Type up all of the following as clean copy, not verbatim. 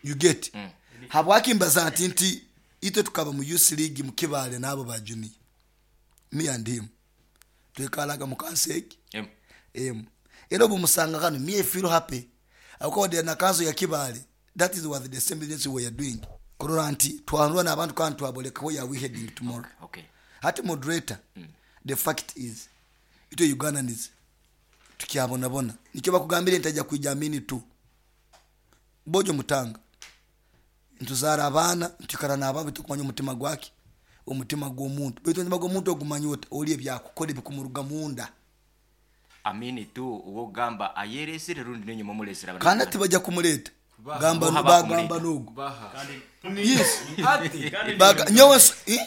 You get? Habwaki mbaza nti nti itwe tukaba mu youth league mu Kibaale n'abo ba junior. Me and him. Twekaraga mu kanso egi Emu. emu. Era obu musanga ghano me I feel happy ahabw'okuba wadde na kanso ya Kibaale that is was the same business we were doing. Kurora nti twanura n'abantu kandi twaboleka where are we heading tomorrow. Okay. Hati moderator, the fact is itwe Ugandans tukyabonabona. Nikyo bakugambire nti aija kwija Amini tu. Bojo mutanga. Nituzaara abaana, nitwikara n'abaana baitu tokumanya omutima gwaki? Omutima gw'omuntu. Baitu omutima gw'omuntu ogumanya ota? Oli ebyakukora ebikumuruga munda. Amini tu ow'okugamba ayeresire rundi n'enyuma omulesire Kandi abana hati tibaija kumureeta. Gamba Boha bagamba bakumureta. n'ogu. Yes. Baga, nyowe nso- eh?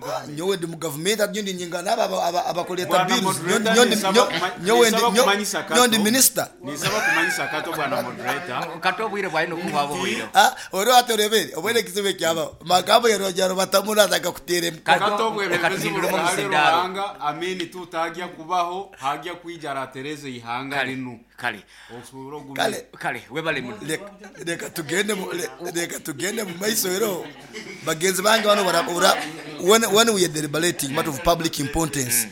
Ah, nyowe ndi mu gavumenti hati nyowe ndi nyinga n'abo aba- aba- abakureeta Bwana bills. Nyowe ndi- moderator, nyowe ndi- ninsaba nyo- kuma- nyowe ndi- ninsaba nyo- kumanyisa nyowe ndi Kato. minisita. Ninsaba kumanyisa Kato bwana moderator. Kato obwire bwaine okuhwa buhwire. Ah, oriho hati orebere obwire ekizibu ekyabaho. Magambo yarongera arubatamu naza akakuteera emikono. Kato, Kato reka obwebembezi tuhinduremu buruga hali omuzindaaro. Ruhanga, Amini tu tagya kubaho, hagya kwija aratereza eihanga Kale, rinu. kale. Osobora ogumire. Kale. Kale, webale muno. Leka, leka tugende mu, le, leka tugende mu maiso ero. Bagenzi bange bano bara, ora, when, when we are deliberating matter of public importance,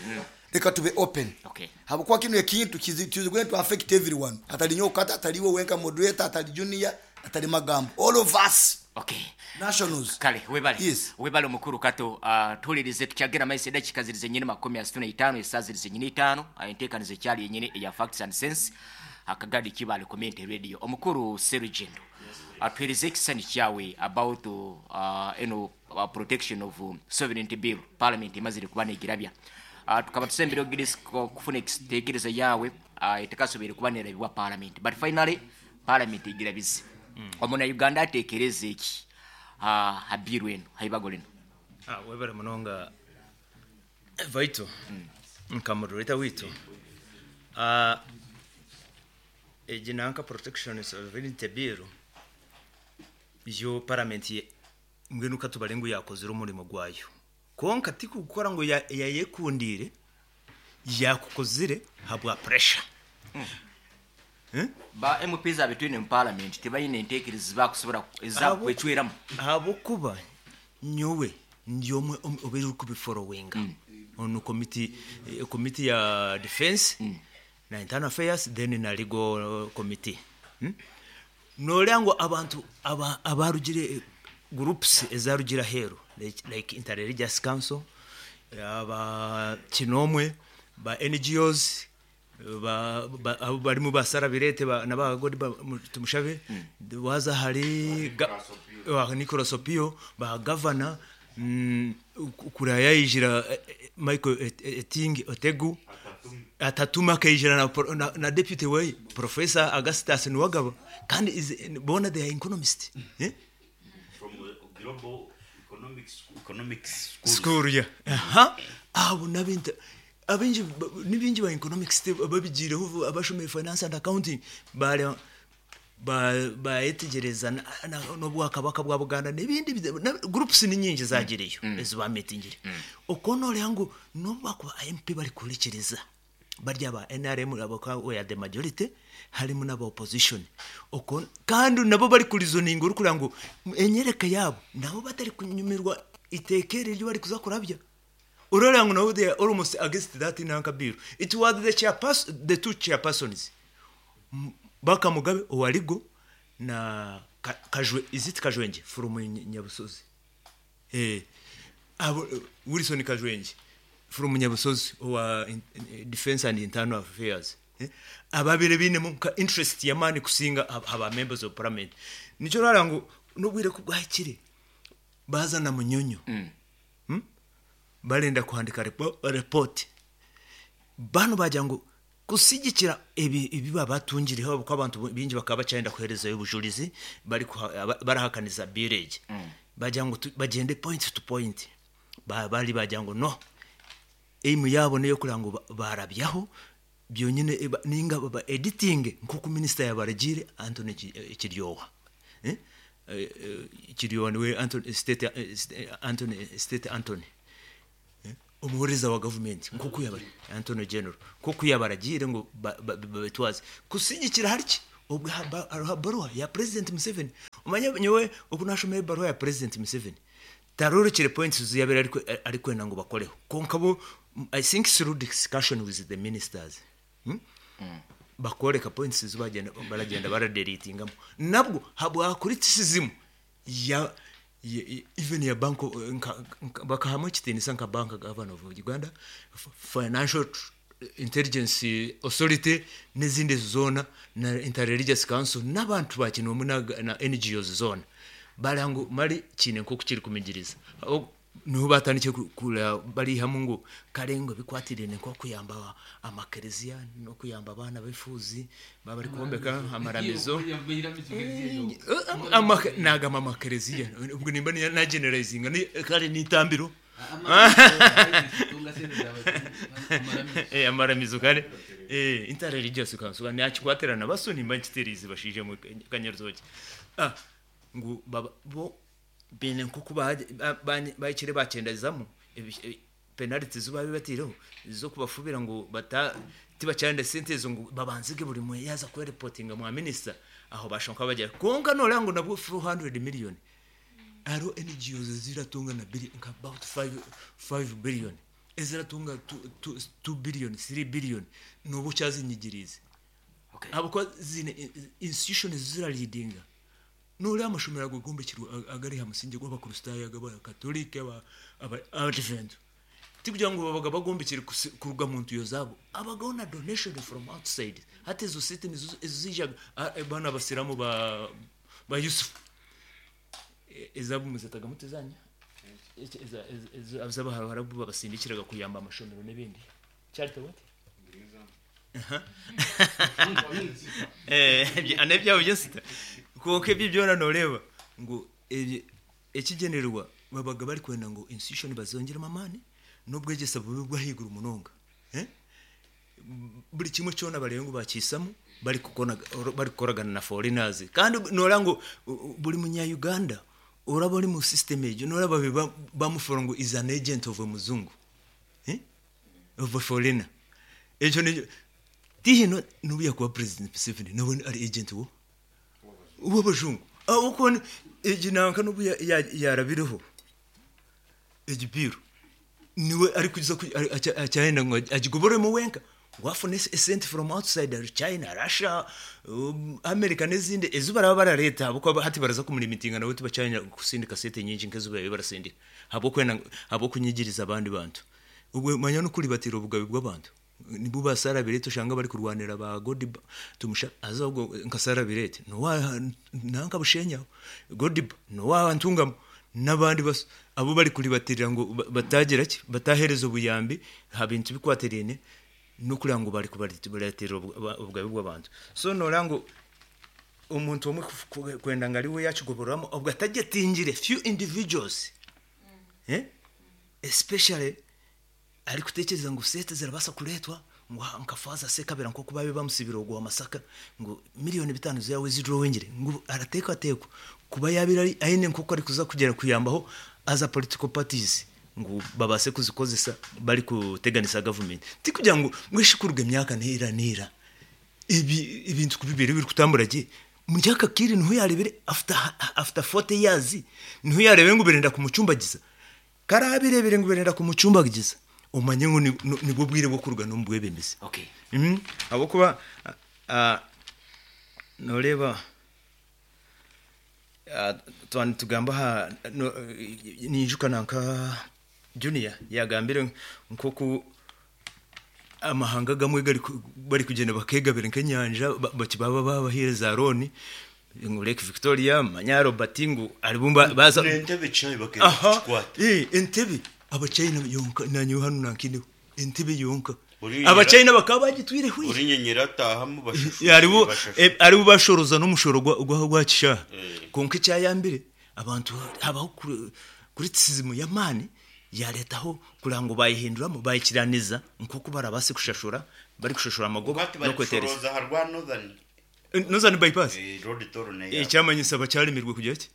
leka tube open. Okay. Habwokuba kinu ekintu kizi, kizi going to affect everyone. Atali nyowe kata, atali iwe wenka moderator, atali junior, atali magambo. All of us. Okay. Nationals. Kale, webale. Yes. Webale omukuru Kato. Tuhulirize tukyagenda maiso edakika ziri zenyini makumi asatu na itaano, esaaha ziri zenyini itaano. Enteekaniza ekyali yenyini eya Facts and Sense Akagadi Kibaale Community Radio. Omukuru Serugendo, atuheereze ekisani kyawe about eno protection of sovereignty bill parliament emazire kuba negirabya. Tukaba tusembere ogidis kufuna ekiteekereza yawe etakasoboire kuba nerabibwa parliament, but finally parliament egirabize. Omuna Uganda atekereze eki ha bill eno, ha ibago lino? Webale munonga Vital nka moderator witu. Egi nanka protection sovereignty bill yo parliament mbwenu katubare ngu yakozire omurimo gwayo. Kwonka tikukora ngu yayekundire, yakukozire habwa pressure. Ba MPs abetwine mu parliament tibaine entekereza bakusobora ezakwecweramu. Ahabwokuba nyowe ndi omwe obeire ori kubiforowinga. Onu committee, committee ya defense na internal affairs then na legal committee. Noreeba ngu abantu abarugire groups ezarugire aheeru like Interreligious Council, aba Kinomwe, ba NGOs, abo barimu ba Sarah Bireete na ba Godi Tumushabe, waza ahari Nicholas Opio, ba gavana, kuriya yaijira Michael Eting Otegu, Atatuma akaijira na deputy we Professor Augustus Nuwagaba, kandi boona they are economists. From Global Economics School. School, yeah. Aha. Abo nabintu abingi nibingi ba economics babigireho abashomire finance and accounting bari bayetegereza n'obwakabaka bwa Buganda n'ebindi groups ni nyingi zagireyo ezi bameetingire. Okwo noreeba ngu n'obu bakuba MP bari kuhurikiriza bari aba NRM abo we are the majority harimu n'aba opposition. Okwo kandi nabo bari kurizoninga orikureba ngu enyereka yaabo nabo batari kunyumirwa iteeka eri eri barikuza kurabya. Ororeba ngu nabo they are almost against that nanka bill. It was the chairperson, the two chairpersons. Baka Mugabe owa Legal na Kajwe, is it Kajwengye from Nyabusozi? Abo, Wilson Kajwengye from Nyabusozi owa Defense and Internal Affairs. Ababire binemu nka interest y'amaani kusinga aba members of parliament. Nikyo orareba ngu n'obwire ku bwahikire baza na Munyonyo. Barenda kuhandika report. Banu bagira ngu kusigikira ebi babatungireho ahabw'okuba abantu baingi bakaba bakyayenda kuheerezayo obujurizi barahakaniza bill egi. Bagira ngu bagyende point to point. Bari bagira ngu no, aim yaabo n'ey'okureba ngu barabyaho byonyine ninga ba editinge nk'oku minisita yabaragiire Anthony Kiryowa. Kiryowa niwe Anthony, State, Anthony, State Anthony. Omuhoreza wa gavumenti nk'oku yabara Anthony General nk'oku yabaragiire ngu babitwaze kusigikira hari ki? Obwe hariho baruha ya President Museveni. Omanye nyowe oku nashoma ebaruha ya President Museveni, tarorokire points ezi yabaire arikwenda ngu bakoreho. Kwonka bo, I think through discussion with the ministers, bakoreka points ezi bagyenda baragyenda baradeletingamu. Nabwo habwa criticism ya even ya bank nka bakahamu ekitiinisa nka Bank Governor of Uganda, Financial Intelligence Authority n'ezindi ezo zoona na Interreligious Council n'abantu ba kinoomu na NGOs zoona bareba ngu mari kiine nk'oku kirikumigiriza. Niho batandikire kureba barihamu ngu kare ngu ebikwatiraine nk'okuyamba amakereziya n'okuyamba abaana b'efuuzi baaba barikwombeka amaramizo. Nagamba amakereziya obwo nimba nageneralizinga kare n'eitambiro. Amaramizo kare Interreligious Council nakikwatirana baso nimba nkitereize bashaija mwe kanyarutookye. Ngu bo baine nk'oku bahikire bakyendezamu penalty ezi baabaire bataireho ez'okubafubira ngu tibakyarenda sente ezo ngu babanzege buri mwe yaaza kwerepotinga mwa minisita aho bashusha nkabagira. Kwonka nooreeba ngu nabwo 400 million hariho NGOs eziratunga na nka about 5 billion eziratunga 2 billion 3 billion nooba okyazinyigiriize. Ahabw'okuba ziine institution eziraleadinga. Nooreeba amashomero ago gombekirwe agari aha musingye gw'Abakristaayo, ag'Abakatorika, Abadiventi. Tikugira ngu babaga bagombekire kuruga mu ntuyo zaabo. Habagaho na donation from outside. Hati ezo sente nizo eziijaga banu Abasiraamu ba Yusuf ezaabo muzetaga muta ezanyu? Ezi Abaharabu babasindikiraga kuyamba amashomero n'ebindi. Charity what? N'ebyabo by'ensita. Kwonka ebyo byona nooreeba ngu ekigyendererwa babaga barikwenda ngu institution bazongyeremu amaani n'obwegyese bube obw'ahaiguru munonga. Buri kimwe kyona bareebe ngu bakihisamu barikukoragana na foreigners. Kandi nooreeba ngu buri munya Uganda oraba ori omu system egyo nooreeba babaire bamufoora ngu is an agent of omujungu. Of a foreigner. Ekyo nikyo tihine n'obu yakuba President Museveni nawe ari agent wo w'abajungu. Ahabw'okuba egi nanka n'obu yarabireho egi bill niwe arikuza akyayenda ngu agigobororemu wenka ngu afune esente from outside China, Russia, America n'ezindi ezi baraba barareeta ahabw'okuba hati baraza kumulimitinga nawe tibakyayenda kusindika sente nyingi nk'ezi babaire barasindika ahabw'okwenda ahabw'okunyigiriza abandi bantu. Obwe manya n'okuribatira obugabe bw'abantu. Nibo ba Sarah Bireete oshanga barikurwanira ba Godiba Tumusha haza ogwo nka Sarah Bireete n'owa nanka Bushenyi aho, Godiba n'owa Ntungamo n'abandi baso abu barikuribatirira ngu batagira ki bataheereza obuyambi aha bintu bikwatiraine n'okureba ngu barikubaribatirira obugabe bw'abantu. So nooreeba ngu omuntu omwe kwenda ngu ariwe yaakigobororamu obwo atagyetingire few individuals especially arikutekyereza ngu sente zirabaasa kureetwa ngu nka Faaza Sekabira nk'oku baabaire bamusibire ogwo wa Masaka ngu miriyoni bitaano zaawe ezidrowingire ngu arateekateekwa kuba yaabaire aine nk'oku arikuza kugyera kuyambaho other political parties ngu babaase kuzikozesa barikuteganisa gavumenti. Tikugira ngu mbwenu shi kuruga emyaka neera neera ebi ebintu ku bibaire birikutambura gye, omuri aka kaire niho yaareebire after after 40 years niho yaareebire ngu birenda kumucumbagiza. Ku araabireebire ngu birenda kumucumbagiza, omanye ngu nibwo bwire bw'okuruga n'omu bwebembezi. Okay. Ahabw'okuba nooreeba twaba nitugamba aha ninyijuka nanka Junior yaagambire nk'oku amahanga agamwe barikugyenda bakeegabira nk'enyanja baba babahaire za looni ngu Lake Victoria manya Robert ngu aribo baza N'entebe chai bakenda kukikwata. Entebe Abachina yonka nanye hanu nankineho entebe yonka Abachina bakaba bagitwire hwi. Buri nyenyeri atahamu bashashura. Aribo bashoroza n'omushoro gwa kishaaha. Kwonka ekyayambire abantu habaho criticism y'amaani yareetaho kureba ngu bayehinduramu bayikiraniza nk'oku barabaase kushashura barikushashura amagoba n'okweteereza. Aha rwa Northern. Northern bypass? Ekyamanyisa bakyaremirwe kugira ki?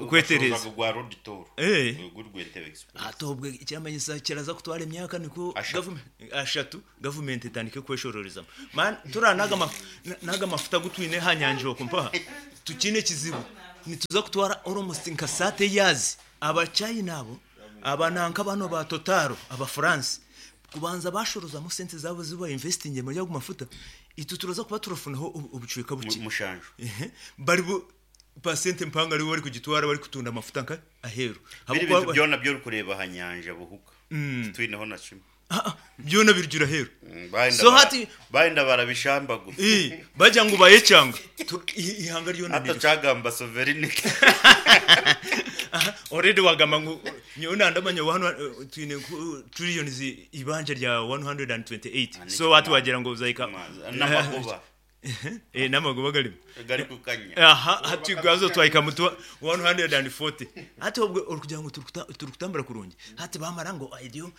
Kwetereza. Gwa road toll. Eh. Guri gw'Entebbe Express. Ate obwe ekiramanyisa kiraza kutwara emyaka nikwo Ashatu. ashatu gavumenti etandike kweshororezamu. Man tura naga naga mafuta gutwine ha nyanja okwo mpaha tukine ekizibu nituza kutwara almost nka 30 years. Abachina abo abananka bano ba Total aba France kubanza bashorozamu sente zabo ziba investing muri ago mafuta, itu turaza kuba turafunaho obucweka buke. Mushanju. Ehe, bari bu pasente mpanga ari bari kugitwara bari kutunda amafuta nka aheru. Biri Habwo bintu byona byo kureba ha nyanja buhuka. Twineho na kimwe. Byona birjura aheru. Baenda So hati baenda barabishamba gusa. Bajya ngo bayecanga. Ihanga ryona Hata niri. cagamba sovereignty. Aha, already wagamba ngo nyona ndamanya twine trillions ibanja rya 128. So watu wagira ngo uzaika N'amagoba. N'amagoba garimo. Gari kukanya. Aha, hati gazo twaika mutu 140. Hati obwe uri ngo turukutambara kurungi. Hati bamara ngo ideo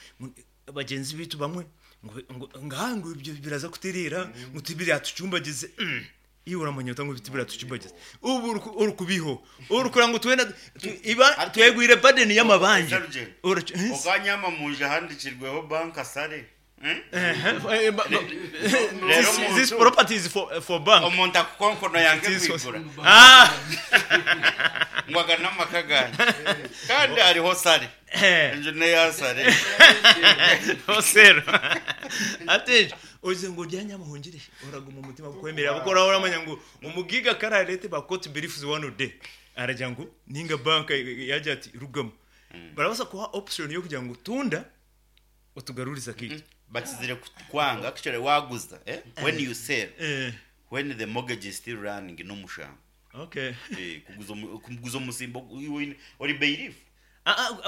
bagenzi bitu bamwe ngo ngahango ibyo biraza kutirira ngo tibiri atucumbagize. Iyo uramanyota ngo bitibira tucumbagize. Ubu uri kubiho. Uri kuranga twenda iba twegwire burden y'amabanje. Oganyama muje handikirweho bank asare. This property is for bank. Omuntu akukonkono yange kwigura. Ngwaga n'amakaganye. Kandi hariho sare. Inzu ne ya sare. Osero. Ate oze ngo ryanya muhungire uraguma umutima kwemera abakora uramanya ngo umugiga kararete ba court briefs one day. Araja ngo ninga bank yaje ati rugamo. Barabasa kuha option yo kugira ngo tunda utugaruriza kitu. Bakizire kwanga actually waguza when you sell when the mortgage is still running no mushamba. Okay. Kuguza umusimbo uri bailiff.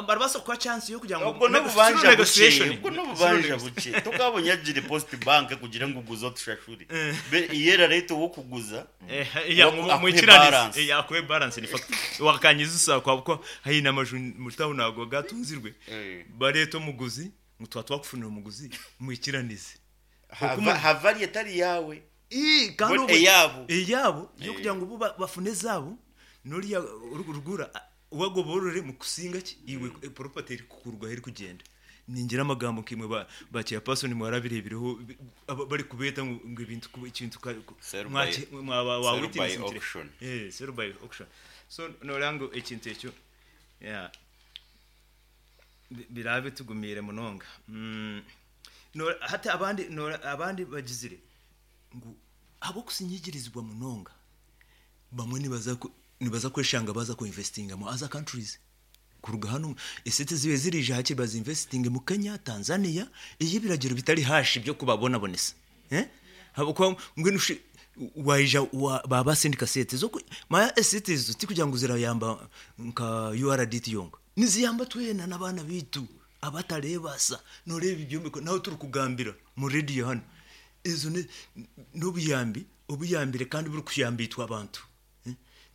Barabasa kuha chance yo kugira ngo ubwo no bubanja buke, ubwo no bubanja buke tukabonye agire post bank kugira ngo uguze tushashuri iyera rate wo kuguza ya mwikiranize yakwe balance ni fact wakanyiza usa kwa ko hayina amaju mutaho nago gatunzirwe bareto muguzi mutwa twakufunira umuguzi mwikiranize havari etari yawe kandi eyabo eyabo yo kugira ngo bafune zabo nuriya urugura wagoborore mu kusinga ki iwe property iri kukurwa iri kugenda. Ningira amagambo kimwe ba chairperson mwarabirebireho bari kubeta ngo ibintu ikintu mwaba wa witness auction. Sell by auction. So norango ikintu ekyo yeah birabe tugumire munonga. No hata abandi no abandi bagizire ngo abo kusinyigirizwa munonga bamwe nibaza kweshanga baza ku investinga mu other countries kuruga hano esete zibe zirije hake baza investing mu Kenya, Tanzania, iyi biragiro bitari hashi byo kubabona bonesa. Habako ngwe nushi waija baba sindika sete zo ma esete zo tikugira ngo zirayamba nka URDT yonga niziyamba twena nabana bitu abatarebasa noreba ibyombeko naho turi kugambira mu radio hano izo n'ubuyambi obuyambire kandi buri kuyambitwa abantu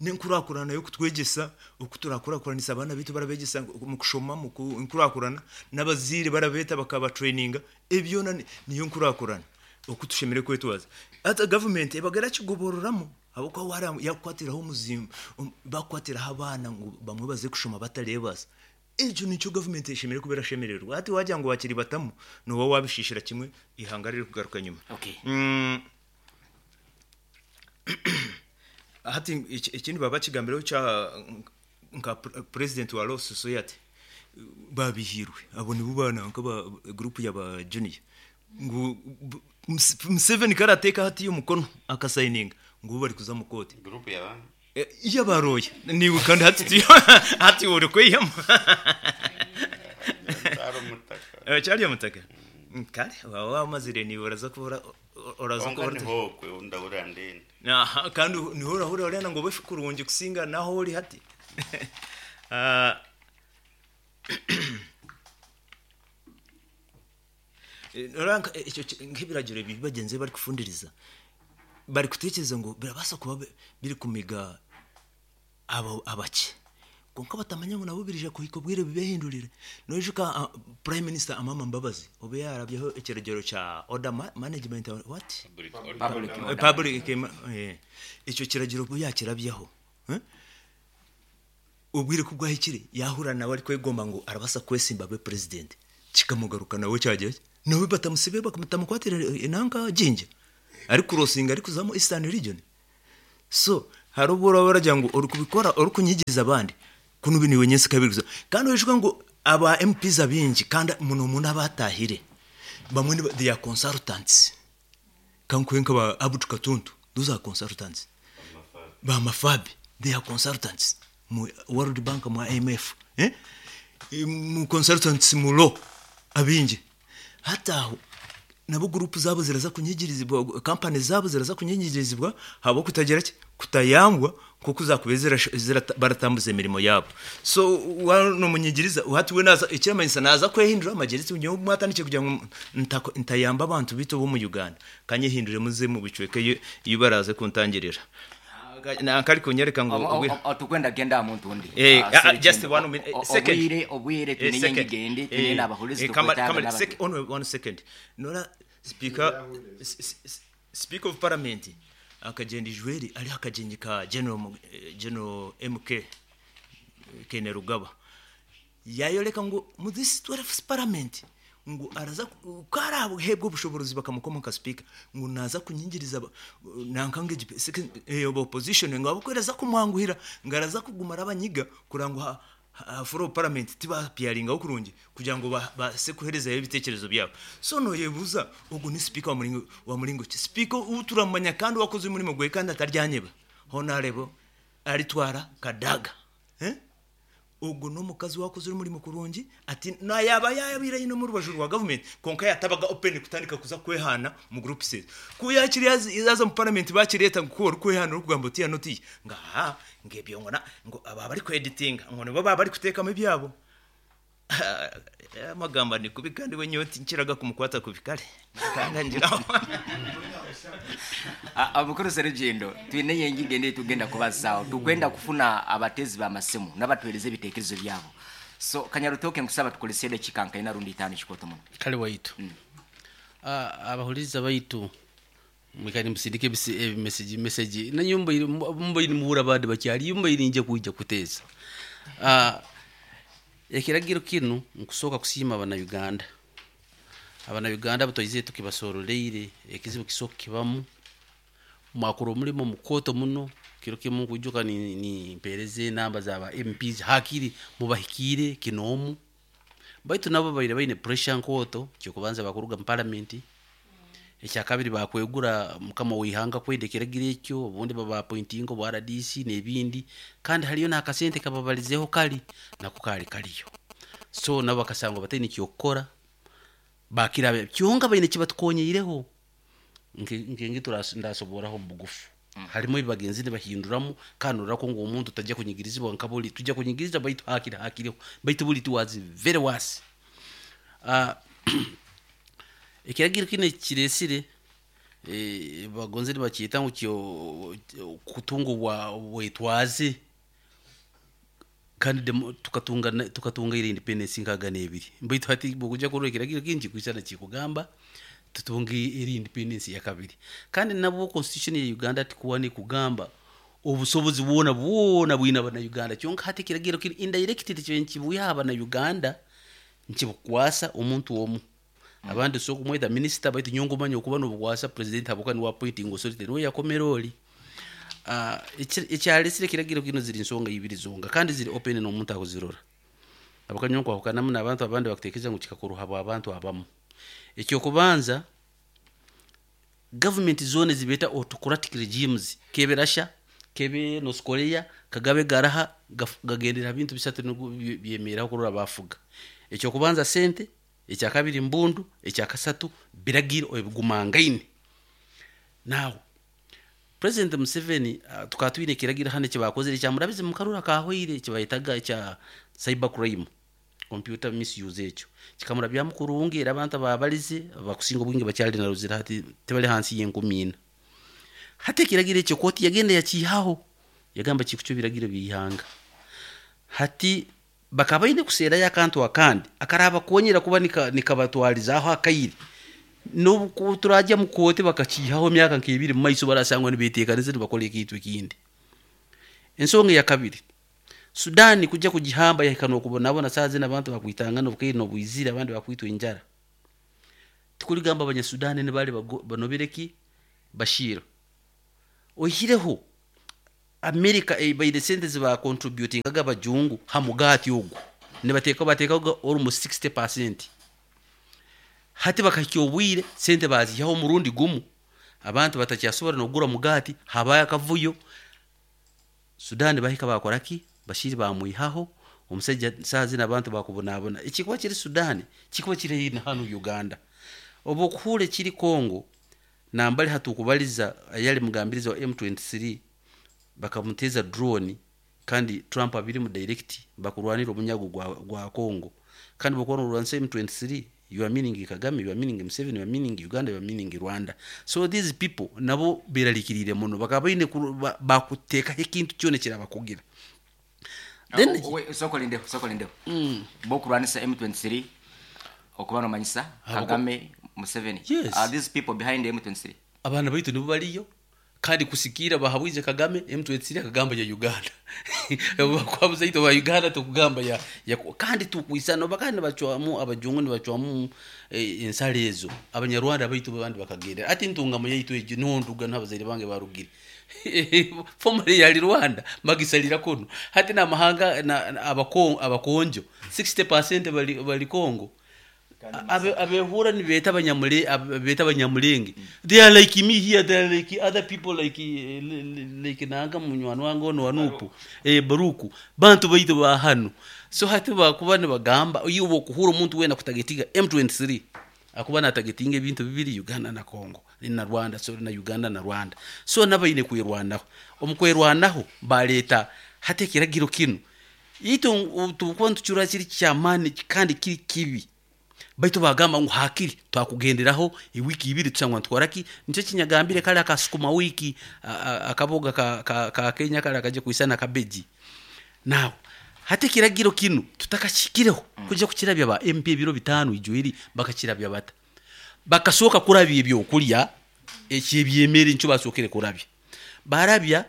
nenkurakurana yo kutwegesa okuturakuranisa abana bitu barabegesa mu kushoma mu nkurakurana n'abazire barabeta bakaba traininga ebyo niyo nkurakurana okutushemere kwetwaza ata government ebagera kigobororamo abako wara yakwatiraho muzimba bakwatiraho abana ngo bamwe baze kushoma batarebasa ejo nicyo government ishemere kubera shemererwa ati wajya ngo bakiri batamu no wowe wabishishira kimwe ihangarire kugaruka nyuma. Okay. Hati ikindi baba kigambiraho cya nka president wa Law Society babihirwe abo ni bubana nka ba group ya ba junior ngo Museveni karateka hati y'umukono akasayininga ngo bari kuza mu kote group ya ba yabaroye niwe kandi hati hati uri kwiyama cyari cyari mutaka kare wawa mazire ni uraza kubura uraza kubura hokwe ndabura ndende aha kandi nihora hora urena ngo befe kurungi kusinga naho uri hati ranka icyo nk'ibiragiro bibagenze bari kufundiriza bari kutekereza ngo birabasa kuba biri kumiga abo abake konka batamanya ngo nabo birije kuhikobwire bibehindurire nojuka prime minister Amama Mbabazi obe yarabyeho ikiragiro cha order management what public icyo kiragiro bo yakirabyeho Obwire ku bwahikire yahura nawe arikwegomba ngu arabasa kwesimba abe president, kikamugaruka nawe kyagira ki? Nawe batamusibe batamukwatira enanka Jinja arikurosinga arikuzamu Eastern Region. So hariho obu oraba oragira ngu orikubikora orikunyigiriza abandi kunu bi niiwe nyensi kabiri kuza. Kandi oijuke ngu aba MPs abaingi kandi muno muno abatahire bamwe niba they are consultants. Kankuhe nka ba Abdu Katuntu those are consultants. Ba Mafabi they are consultants mu World Bank mu IMF eh mu consultants mu law abaingi. Hati aho nabo group zaabo ziraza kunyigirizibwa, company zaabo ziraza kunyigirizibwa ahabw'okutagira ki? Kutayambwa nk'oku zaakubaire baratambuza emirimo yaabo. So waaba nomunyigiriza hati we naaza ekiramanyisa naaza kwehindura amagye ati nyowe obu mwatandikire kugira ngu ntayamba abantu baitu ab'omu Uganda, kanyehinduremu nze omu bicweka ei baraaze kuntangirira. Nanka arikunyereka ngu obwire. Tukwenda kugenda aha muntu ondi. Eh, Ah, ah, Sergent, just one minute, second. Obwire, obwire Eh, twine second. enyiga endi, twine Eh, n'abahulizi eh, kama- tukwetaaga kama- n'abandi. only one second. Nora speaker speaker of parliament akagyenda Ijweri ari aha kagyenyi ka General General MK Kainerugaba. Yayoreka ngu mu this 12th parliament ngu araza ku araheebwa obushoborozi bakamukoma nka speaker ngu naza kunyingiriza nanka ngu egi second aba opposition ngu ahabw'okuba eraza kumwanguhira ngu araza kuguma arabanyiga kureba ngu aha floor of parliament tiba appearingaho kurungi kugira ngu babaase kuherezayo ebitekerezo byabo. So noyebuuza ogu ni speaker wa muringo wa muringo ki? Speaker ou turamanya kandi owakozire omurimo gwe kandi ataryanyeba hoona areeba aritwara Kadaga. Ogwo n'omukazi owaakozire omurimo kurungi ati nayaaba yaabaire aine omu rubaju rwa gavumenti kwonka yaatabaga open kutandika kuza kwehaana omu groups ezo. Ku yaakire yaaza omu paramenti baakireeta ngu ku orikwehaana orikugamba otiya n'otiya ngu ahaa ngu ebyo ngu ngu aba abarikweditinga ngu nibo baaba barikuteekamu ebyabo. Amagamba ni kubi kandi we nyowe tinkiraga kumukwata kubi kare nkangangiraho. Omukuru Serugendo, twine enyiga endi eyitugenda kubazaaho. Tukwenda kufuna abateezi b'amasimu n'abatuheereza ebitekerezo byabo. So Kanyarutoke nkusaba tukorese edakiika nka ina rundi itaano kikooto muno. Kale waitu. Abahuriza baitu mwikare nimusindika ebimesegi mesegi nanyowe mbaire mbaire nimuhurra abandi bakyariyo mbaire ninjya kwija kuteeza. Ekiragiro kinu nkusooka kusiima abana Uganda. Abana Uganda abu twaizire tukibasoroleire ekizibu kisoboka kibamu mwakora omulimo mukooto muno kiro kimu nkwijuka nimpeereza enamba za ba MPs hakiri mubahikiire kinoomu baitu nabo babaire baine pressure nkooto kyokubanza bakuruga mu parliament ekyakabiri bakwegura mukama w'ihanga kwenda ekiragiro ekyo obundi baba appointinga obwa RDC n'ebindi kandi hariyo n'akasente kababalizeho kali nako kaali kariyo so nabo bakasangwa bataine kyokukora bakira kyonka baine kibatukonyiireho nkenge ndasoboraho omu bugufu harimu ebi bagenzi nibahinduramu kandi ororako ngu omuntu tajya kunyigirizibwa nka buri tujya kunyigiriza baitu hakiri hakiriho baitu buri it was very worse. Ekiragiro kinu ekiresire bagonze nibakyeta ngu kyo kutunga obwetwaze kandi tukatunga tukatunga ira independence nkaga n'ebiri baitu hati bwokujya kurora ekiragiro kinu kikwisana kikugamba tutunge eri independence ya kabiri kandi nabwo constitution ya Uganda tikuwa nikugamba obusobozi bwona bwona bwine abana Uganda kyonka hati ekiragiro kiri indirect tikyo nkibuya abana Uganda nkibukwasa omuntu omu abandi so kumweta minister baitu nyongo manya okuba nobukwasa president habuka niwe appointing authority niwe yakomera oli. Ekyalesire ekiragiro kino ziri nsonga ibiri zonga kandi ziri open n'omuntu akuzirora abakanyonko ahukanamu n'abantu abandi bakutekereza ngu kikakorwa habwa abantu abamu. Ekyokubanza government zone zibeta autocratic regimes kebe Russia kebe North Korea kagabe garaha gagendera bintu bisatu nigo byemeraho kurora bafuga. Ekyokubanza sente, ekyakabiri mbundu, ekyakasatu biragiro ebigumangaine. Now President Museveni tukaba twine ekiragiro hano ekibakozire ekyamurabize mu karura kahweire ekibayetaga ekya cyber crime computer misuse ekyo kikamurabyamu kurungi era abantu ababalize bakusinga obwingi bakyali na ruzira hati tibali hansi y'enkumi ina. Hati ekiragiro ekyo kooti yagenda yakiihaho yagamba kikucwa ebiragiro by'ihanga. Hati bakaba baine kuseerayo akantu akandi akarabakonyera kuba nikabatwarizaho akaire n'obu turajya mu kooti bakakiihaho emyaka nk'ebiri mu maiso barasangwa nibeteekaniza nibakora ekintu ekindi. Ensonga eya kabiri Sudani kujya kugihamba yahika nokubonabona saa zino abantu bakwitangana obukaire nobwizire, abandi bakwitwa enjara. Tikuligamba Abanyasudani nibali banobire ki Bashir. Oihireho Amerika ebaire sente zibacontributingaga abajungu ha mugaati ogu nibateeka bateekaga almost 60%. Hati bakahikya obwire sente baziihaho omurundi gumu, abantu batakyasobora nokugura mugaati, habayo akavuyo. Sudani bahika bakora ki? Bashir bamwihaho omusaija, saaha zinu abantu bakubonabona. Ekikuba kiri Sudani kikuba kiri haihi na hanu Uganda. Obu okuhuura ekiri Congo, nambali hatukubaliza ayali mugambirizi wa M23 bakamuteeza drone, kandi Trump abirimu direct bakurwanira omunyago gwa Congo. Kandi bokuba norwanisa M23, you are meaning Kagame, you are meaning Museveni, you are meaning Uganda, you are meaning Rwanda. So these people nabo berarikirire muno, bakaba baine bakuteekaho ekintu kyona ekirabakugira. Then Sooka olindeho, sooka olindeho. Bokurwanisa M23 okuba nomanyisa Kagame, Museveni. Yes. Are these people behind M23? Abaana baitu nibo bariyo, kandi kusikiira bahabwize Kagame M23 akagamba ya Uganda. Bakwabuza itwe ba Uganda tukugamba ya kandi tukwisana oba kandi nibacwamu abajungu nibacwamu ensaro ezo. Abanyarwanda baitu abandi bakagendera. Ati ntungamo yaitu egyo niho nduga niho abazaire bange barugire. Formerly yali Rwanda bagisalira kunu. Hati n'amahanga na abakonjo 60% bali Congo. Abehura nibeeta beeta Abanyamulenge. They are like me here, they are like other people like nanga munywani wange ono wanupu. Baruku. Bantu baitu ba hanu. So hati bakuba nibagamba iwe okuhura omuntu weena kutagetiga M23 akuba natagetinga ebintu bibiri, Uganda na Congo na Rwanda, sorry, na Uganda na Rwanda. So nabaine kwerwanaho. Omu kwerwanaho baleeta hati ekiragiro kinu. Itwe tukuba nitukirora kiri ky'amaani kandi kiri kibi. Baitu bagamba ngu hakiri twakugenderaho ewiki ibiri tusangwa nitukora ki? Nikyo kinyagambire kare aka sukuma wiki, akaboga ka Kenya kare akaje kwisana kabeji. Now hati ekiragiro kinu tutakakihikireho kuja kukirabya ba MP ebiro 5 ijweri bakakirabya bata? Bakasooka kurabya ebyokurya eky'ebyemere nikyo basookere kurabya. Barabya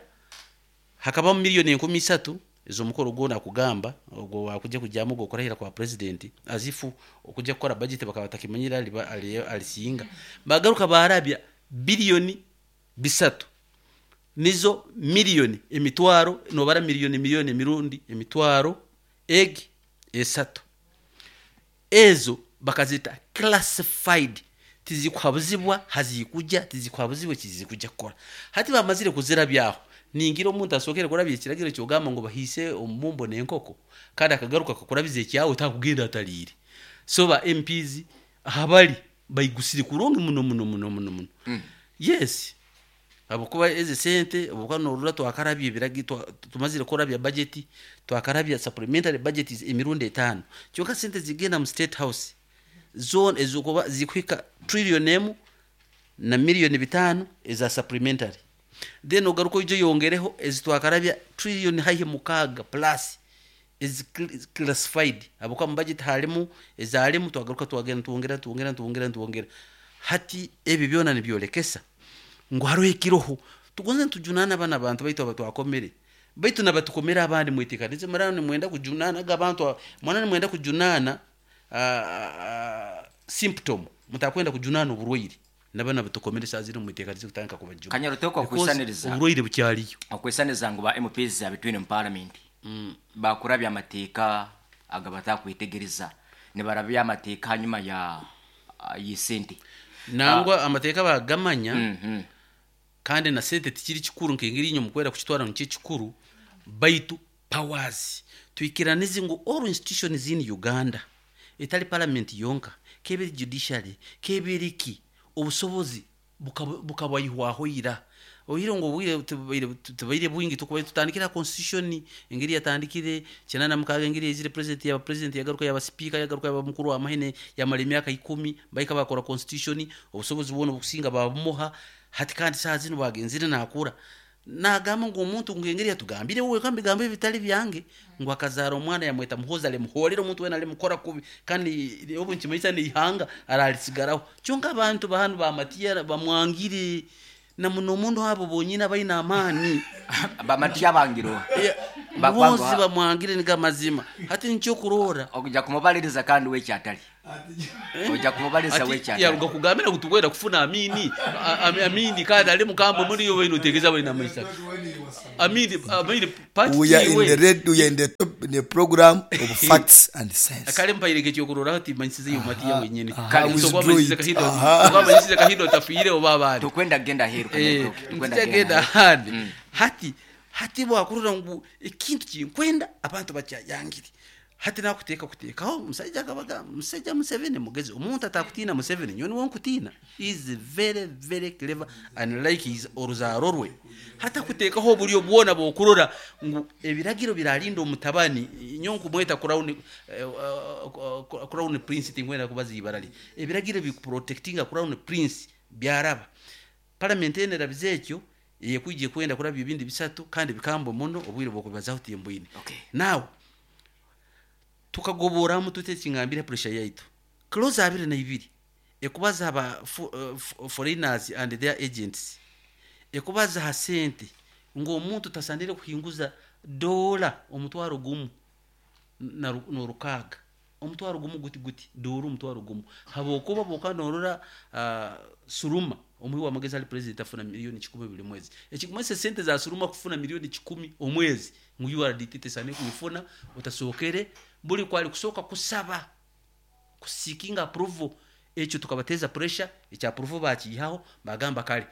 hakabamu miliyoni enkumi isatu ez'omukoro gwona kugamba ogwo wakuja kujamu ogwo kurahira kwa president azifu okuja kukora budget bakaba batakimanyire alisinga. Bagaruka barabya biliyoni 3 nizo miliyoni emitwaro nobara miliyoni miliyoni emirundi emitwaro egi 3 ezo bakazita classified, tizikuhabuzibwa hazikuja, tizikuhabuzibwa ekizikuja kukora. Hati bamazire kuzirabyaho ningira omuntu asookere kurabya ekiragiro kyogamba ngu bahiise omubumbo n'enkoko kandi akagaruka akakurabiza ekyawe takugenda ataliire. So ba MPs ahabali baigusire kurungi muno muno muno muno muno. Yes. Habwokuba ezi sente obukuba norora twakarabya ebiragi, tumazire kurabya budget, twakarabya supplementary budgets emirundi 5. Kyonka sente zigenda mu State House zone ezokuba zikuhika trillion emu na miliyoni 5 eza supplementary. Then ogaruka oije oyongereho ezi twakarabya trillion haihi 6 plus ezi classified. Habwokuba mu budget harimu ezarimu twagaruka twagenda twongera twongera twongera twongera. Hati ebi byona nibyolekesa ngu hariho ekiroho. Tugonze nitujunana abana abantu baitu abatwakomere. Baitu nabatukomera abandi mwetekanize murano nimwenda kujunana abantu mwana nimwenda kujunana symptom mutakwenda kujunana oburwaire. Nabana batukomere saa zino mwetekanize kutandika kubajuna. Kanyarutoko Because okwisaniriza. oburwaire bukyaliyo. Okwisaniriza ngu ba MPs abitwine mu parliament. Bakurabya amateeka agabatakwetegereza. Nibarabya amateeka hanyuma ya y'esente. Nangwa amateeka bagamanya. Kandi na sente tikiri kikuru nk'engeri inyo mukwera kukitwara nikyo kikuru, baitu powers. Twikiranize ngu all institutions in Uganda etali parliament yonka, kebiri judiciary, kebiri ki, obusobozi bukabayihwaho ira. Oire ngu obwire tubaire bwingi tukubaire tutandikira constitution engeri yatandikire 96 engeri ezire president yaba president yagaruka yaba speaker yagaruka yaba mukuru wa mahene yamara emyaka 10 baika bakora constitution obusobozi bwona obukusinga babumuha. Hati kandi saa zino bagenzire nakura nagamba ngu omuntu ngu engeri yatugambire wowe kambi gambe ebitali byange ngu akazara omwana yamweta Muhoozi alimuhoorera omuntu wena alimukora kubi kandi obu nkimaisa ni ihanga aralisigaraho. Kyonka abantu bahanu bamatiya bamwangire. Na muno muno abo bonyine abaine amaani. Bamatya bangirwa. Bonsi bamwangire niga mazima. Hati nikyo kurora. Okuja kumubaliriza kandi wekyatali. Ojja kumubaliriza Ati wekyatali. yaruga kugambira ngu tukwenda kufuna Amini. Amini kandi ali mukambwe muri yo wenu otegeza baina maisha. Amini Amini party We are in we. the red, we are in the top, in the program of facts and sense. Kale mpaire ekyokurora ati manyisize yo matiya wenyine. Aha, Kale withdraw manyisize it. kahindo. Aha. Oba manyisize kahindo tafiire oba abandi. Tukwenda kugenda heru tukwenda Ntikyagenda ahandi. Hati hati bwakurora ngu ekintu kinkwenda abantu bakyayangire. Hati nakuteeka kuteekaho omusajja akabaga musajja Museveni mugezi omuntu atakutiina Museveni nyowe niwe nkutiina. He is very very clever and like his oruzaaro rwe. Hati akuteekaho oburyo bwona bw'okurora ngu ebiragiro birarinda omutabani nyowe nkumweta crown, crown prince tinkwenda kubaza ibara rye. Ebiragiro bikuprotectinga crown prince byaraba. Parliament eno erabize ekyo eyekwijja kwenda kurabya ebindi bisatu kandi bikambwe muno obwire bw'okubibazaho timbwine. Okay. Now tukagoboramu tute ekingambire pressure yaitu. Clause 22 ekubaza aba foreigners and their agents. Ekubaza ha sente ngu omuntu tasandire kuhinguza dola omutwaro gumu na n'orukaaga. Omutwaro gumu guti guti dola omutwaro gumu. Habwokuba bwoka norora Suruma omuhi w'amagezi ali president afuna milioni 10 buli mwezi. Ekikumanyisa sente za Suruma kufuna milioni 10 omwezi ngu URDT tesane kuifuna utasookere buli kwali kusooka kusaba kuseeking approval ekyo tukabateza pressure ekya approval bakiyihaho bagamba kale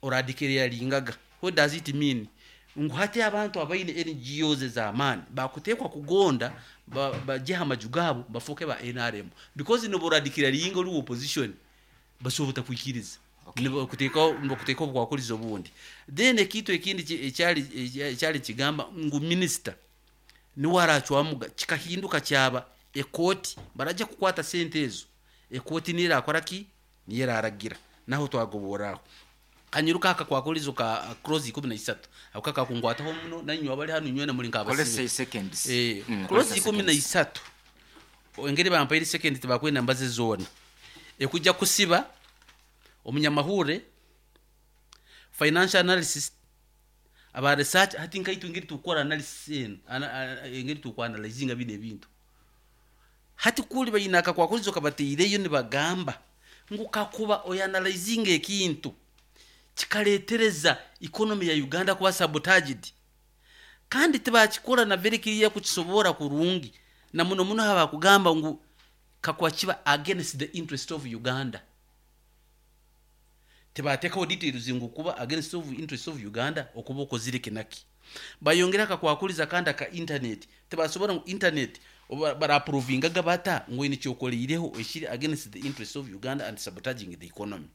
oradikere yalingaga. What does it mean? Ngu hati abantu abaine NGOs z'amaani bakuteekwa kugonda bajeha amaju gaabo bafuuke ba NRM because noboradikira linga oli opposition basobola kwikiriza. Nibakuteekaho obwakuriza obundi. Then ekintu ekindi ekyali kigamba ngu minister niwe aracwamuga kikahinduka kyaba ekooti barajja kukwata sente ezo ekooti niyo erakora ki niyo eraragira naho twagoboraho. Kanyiruka aka kwakurizo ka clause 13 ako kakakungwataho muno nanywa bali hano nywena muri nkabasibe. Kolese seconds. Clause 13 engeri bampaire second tibakwenda mbaze zona ekujja kusiba omunyamahure financial analysis aba research hati nkaitu ngeri tukora analysis eno engeri tukwanalizinga bino ebintu hati kuli bayina akakwakurizo kabateireyo nibagamba ngu kakuba oyanalizinga ekintu kikaletereza economy ya Uganda kuba sabotaged kandi tibakikora na very clear kukisobora kurungi na muno muno haba kugamba ngu kakuba kiba against the interest of Uganda tibatekaho details ngu kuba against of interest of Uganda okuba okozire kinaki bayongera akakwakuliza kandi aka internet tibasobora ngu internet baraprovingaga bata ngu ine kyokoleireho ekiri against the interest of Uganda and sabotaging the economy.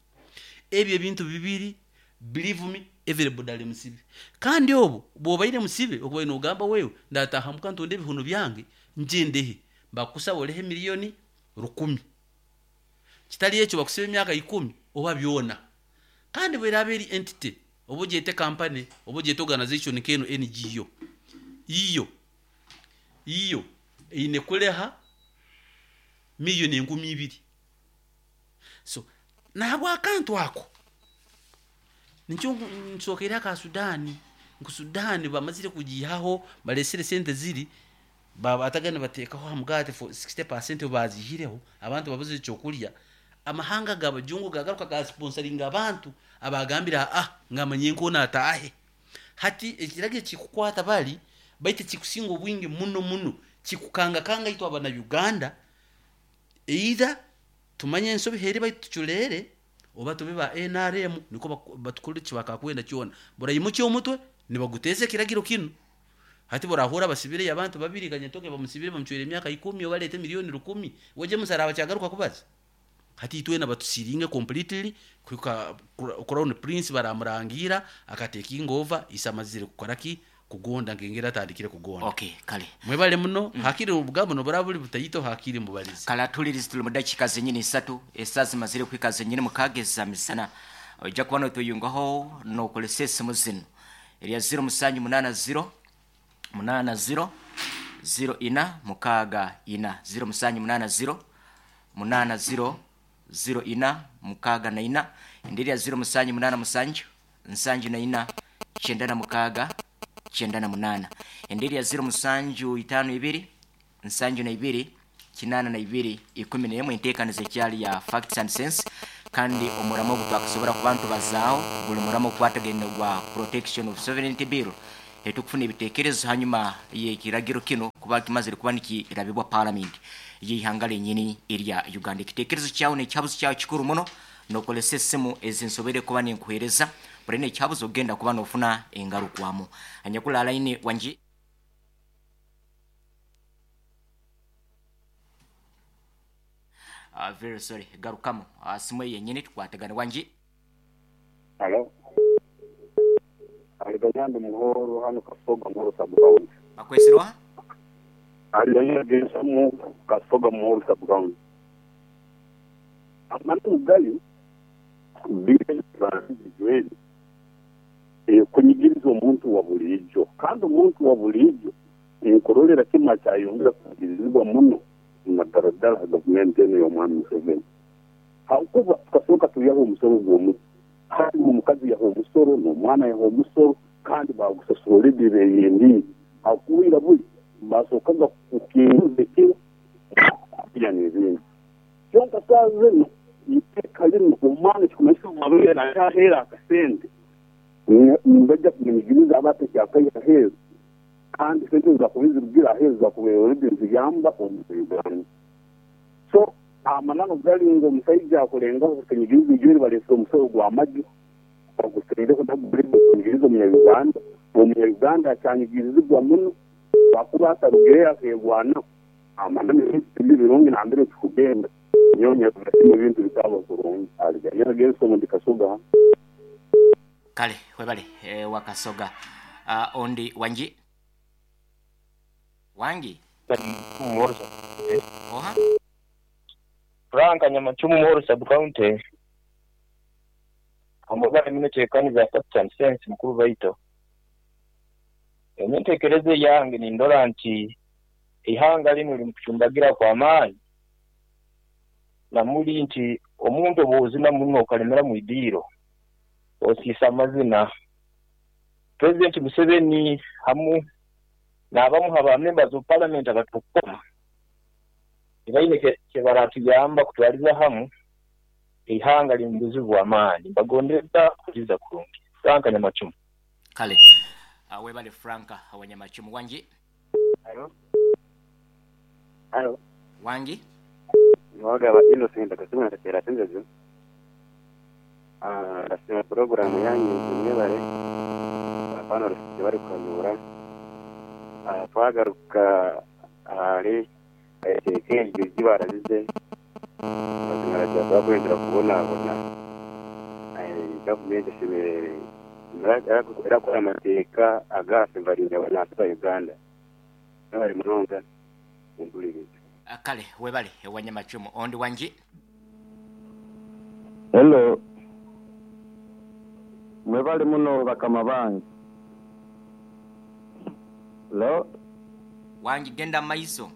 Ebyo ebintu bibiri believe me everybody ali musibe kandi obo bwobaire musibe okubaire nogamba wewe ndatahamuka ntonde ebihuno byange njendehe bakusaba olehe milioni 10 kitali ekyo bakusiba emyaka 10 oba byona kandi bweraba eri entity oba ogyete company oba ogyete organization keno NGO iyo iyo eine kuleha milioni 2000 so nabwo akantu ako nikyo nsokera ka Sudani nku Sudani bamazire kugihaho balesere sente ziri babatagana batekaho hamugate for 60% bazihireho abantu babuze cyo kulya amahanga gabajungu gagaruka ga sponsoringa abantu abagambira ngamanye nko natahe hati ekirage kikukwata bali baite kikusinga obwingi muno muno kikukanga kanga itwa abana Uganda either tumanye ensobi heri baitu tuchulere oba tube ba NRM niko batukore kibakakwenda kyona burayimuki omutwe nibaguteze kiragiro kino hati borahura basibire abantu babiri kanyatoke bamusibire bamucwere emyaka 10 obalete milioni 10 weje musaraba kyagaruka kubaza hati itwena batusiringe completely kuka Crown Prince baramurangira akatekinga over isamazire kukora ki kugonda ngengera atandikire kugonda. Okay, kale mwebale muno hakiri obugambo noburabuli butayito hakiri mubalizi kala tulirizi tuli mudakika zenyini 3 esazi mazire kwika zenyini mukageza misana ojja kuba notuyungaho nokolesa esimu zino erya 0780 80 04 64 0780 80 04 64 indi erya 0787 74 96 98. Endi erya 0752 72 82 11. Enteekaniza ekyali ya Facts and Sense, kandi omuramo ogu twakusobora kuba nitubazaaho guli muramo ogukwatagaine gwa Protection of Sovereignty Bill. Tukufuna ebitekerezo hanyuma y'ekiragiro kinu kuba kimazire kuba nikirabibwa Palamenti y'eihanga lyenyini erya Uganda. Ekitekerezo kyawe n'ekihabuzo kyawe kikuru muno. Nokozesa esimu ezi nsoboire kuba ninkuhereza buri n'ekihabuzo ogenda kuba nofuna engarukwamu. Anyakuli line wangi. Very sorry, garukamu simu eyo yenyini tukwatagane wangi. Halo. Aliganyandi Muhoro hano Kasoga Muhoro sub county. Bakwesire oha? Aliganyandi Gensamu Kasoga Muhoro sub county. Amananu gali bill egi ekunyigiriza omuntu wa buriijo kandi omuntu wa buriijo ninkurorera kimu akyayongera kunyigirizibwa muno naddala ddala gavumenti eno y'omwami Museveni habwokuba tukasooka twihaho omusoro gw'omuti hati n'omukazi yaha omusoro n'omwana yaha omusoro kandi bagusasura already beyendiire habwokuba ira buli basookaga kukinguza ekiro kulya n'ebindi kyonka saaha zinu iteeka linu omwana ekikumanyisa obu abaire nakyaheera akasente nibajja kumunyigiriza aba atakyakaiha aheeru kandi sente ezizakuba zirugire aheeru zakubaire already niziyamba omu Uganda. So amananu gali ngu omusaija akulengaho kutunyigiriza ijweri baleesere omusoro gw'amaju bagusaireho nagwo guleke kunyigiriza omunya-Uganda. Omunya-Uganda akyanyigirizibwa muno kakuba atarugireyo akeerwanaho. Amananu ebintu tibiri birungi nambere tukugenda. Nyowe nyerora ebintu bitaaba kurungi. Aliganyira Gerson ndi Kasoga hanu. Kale webale Wakasoga. Ondi wangi? Wangi? Oha? Frank Nyamachumu Muhoro sub county. Amabara mino tekaniza Facts and Sense mukuru baito. Entekereza yange nindora nti ihanga lino limukuchumbagira kwa amaani namuli nti omuntu obuzina muno okalemera mu idiiro osiisa amazina. President Museveni hamu n'abamu aba members of parliament abatukoma tibaine kyebaratuyamba kutwaliza hamu ihanga liri mu buzibu bw'amaani. Mbagondeza kuliza kurungi. Frank Nyamachumu. Kale webale Frank Wanyamachumu. Wangi? Halo. Halo. Wangi? Niwagaba Innocent akasimu natatera senzezo. Ndasiima programu yanyu mwebare. Apana rusije bari kukanyura. Twagaruka ahari eteeka eryo barabize. Mazima rajaza kwendera kubonabona. Gavumenti erakora amateeka agafevaringa abantu ba Uganda. Nabari munonga mpuliriza. Kale webale Wanyamachumu. Ondi wangi? Hello. Mwebale muno bakama bange. Hello. Wangi genda maiso.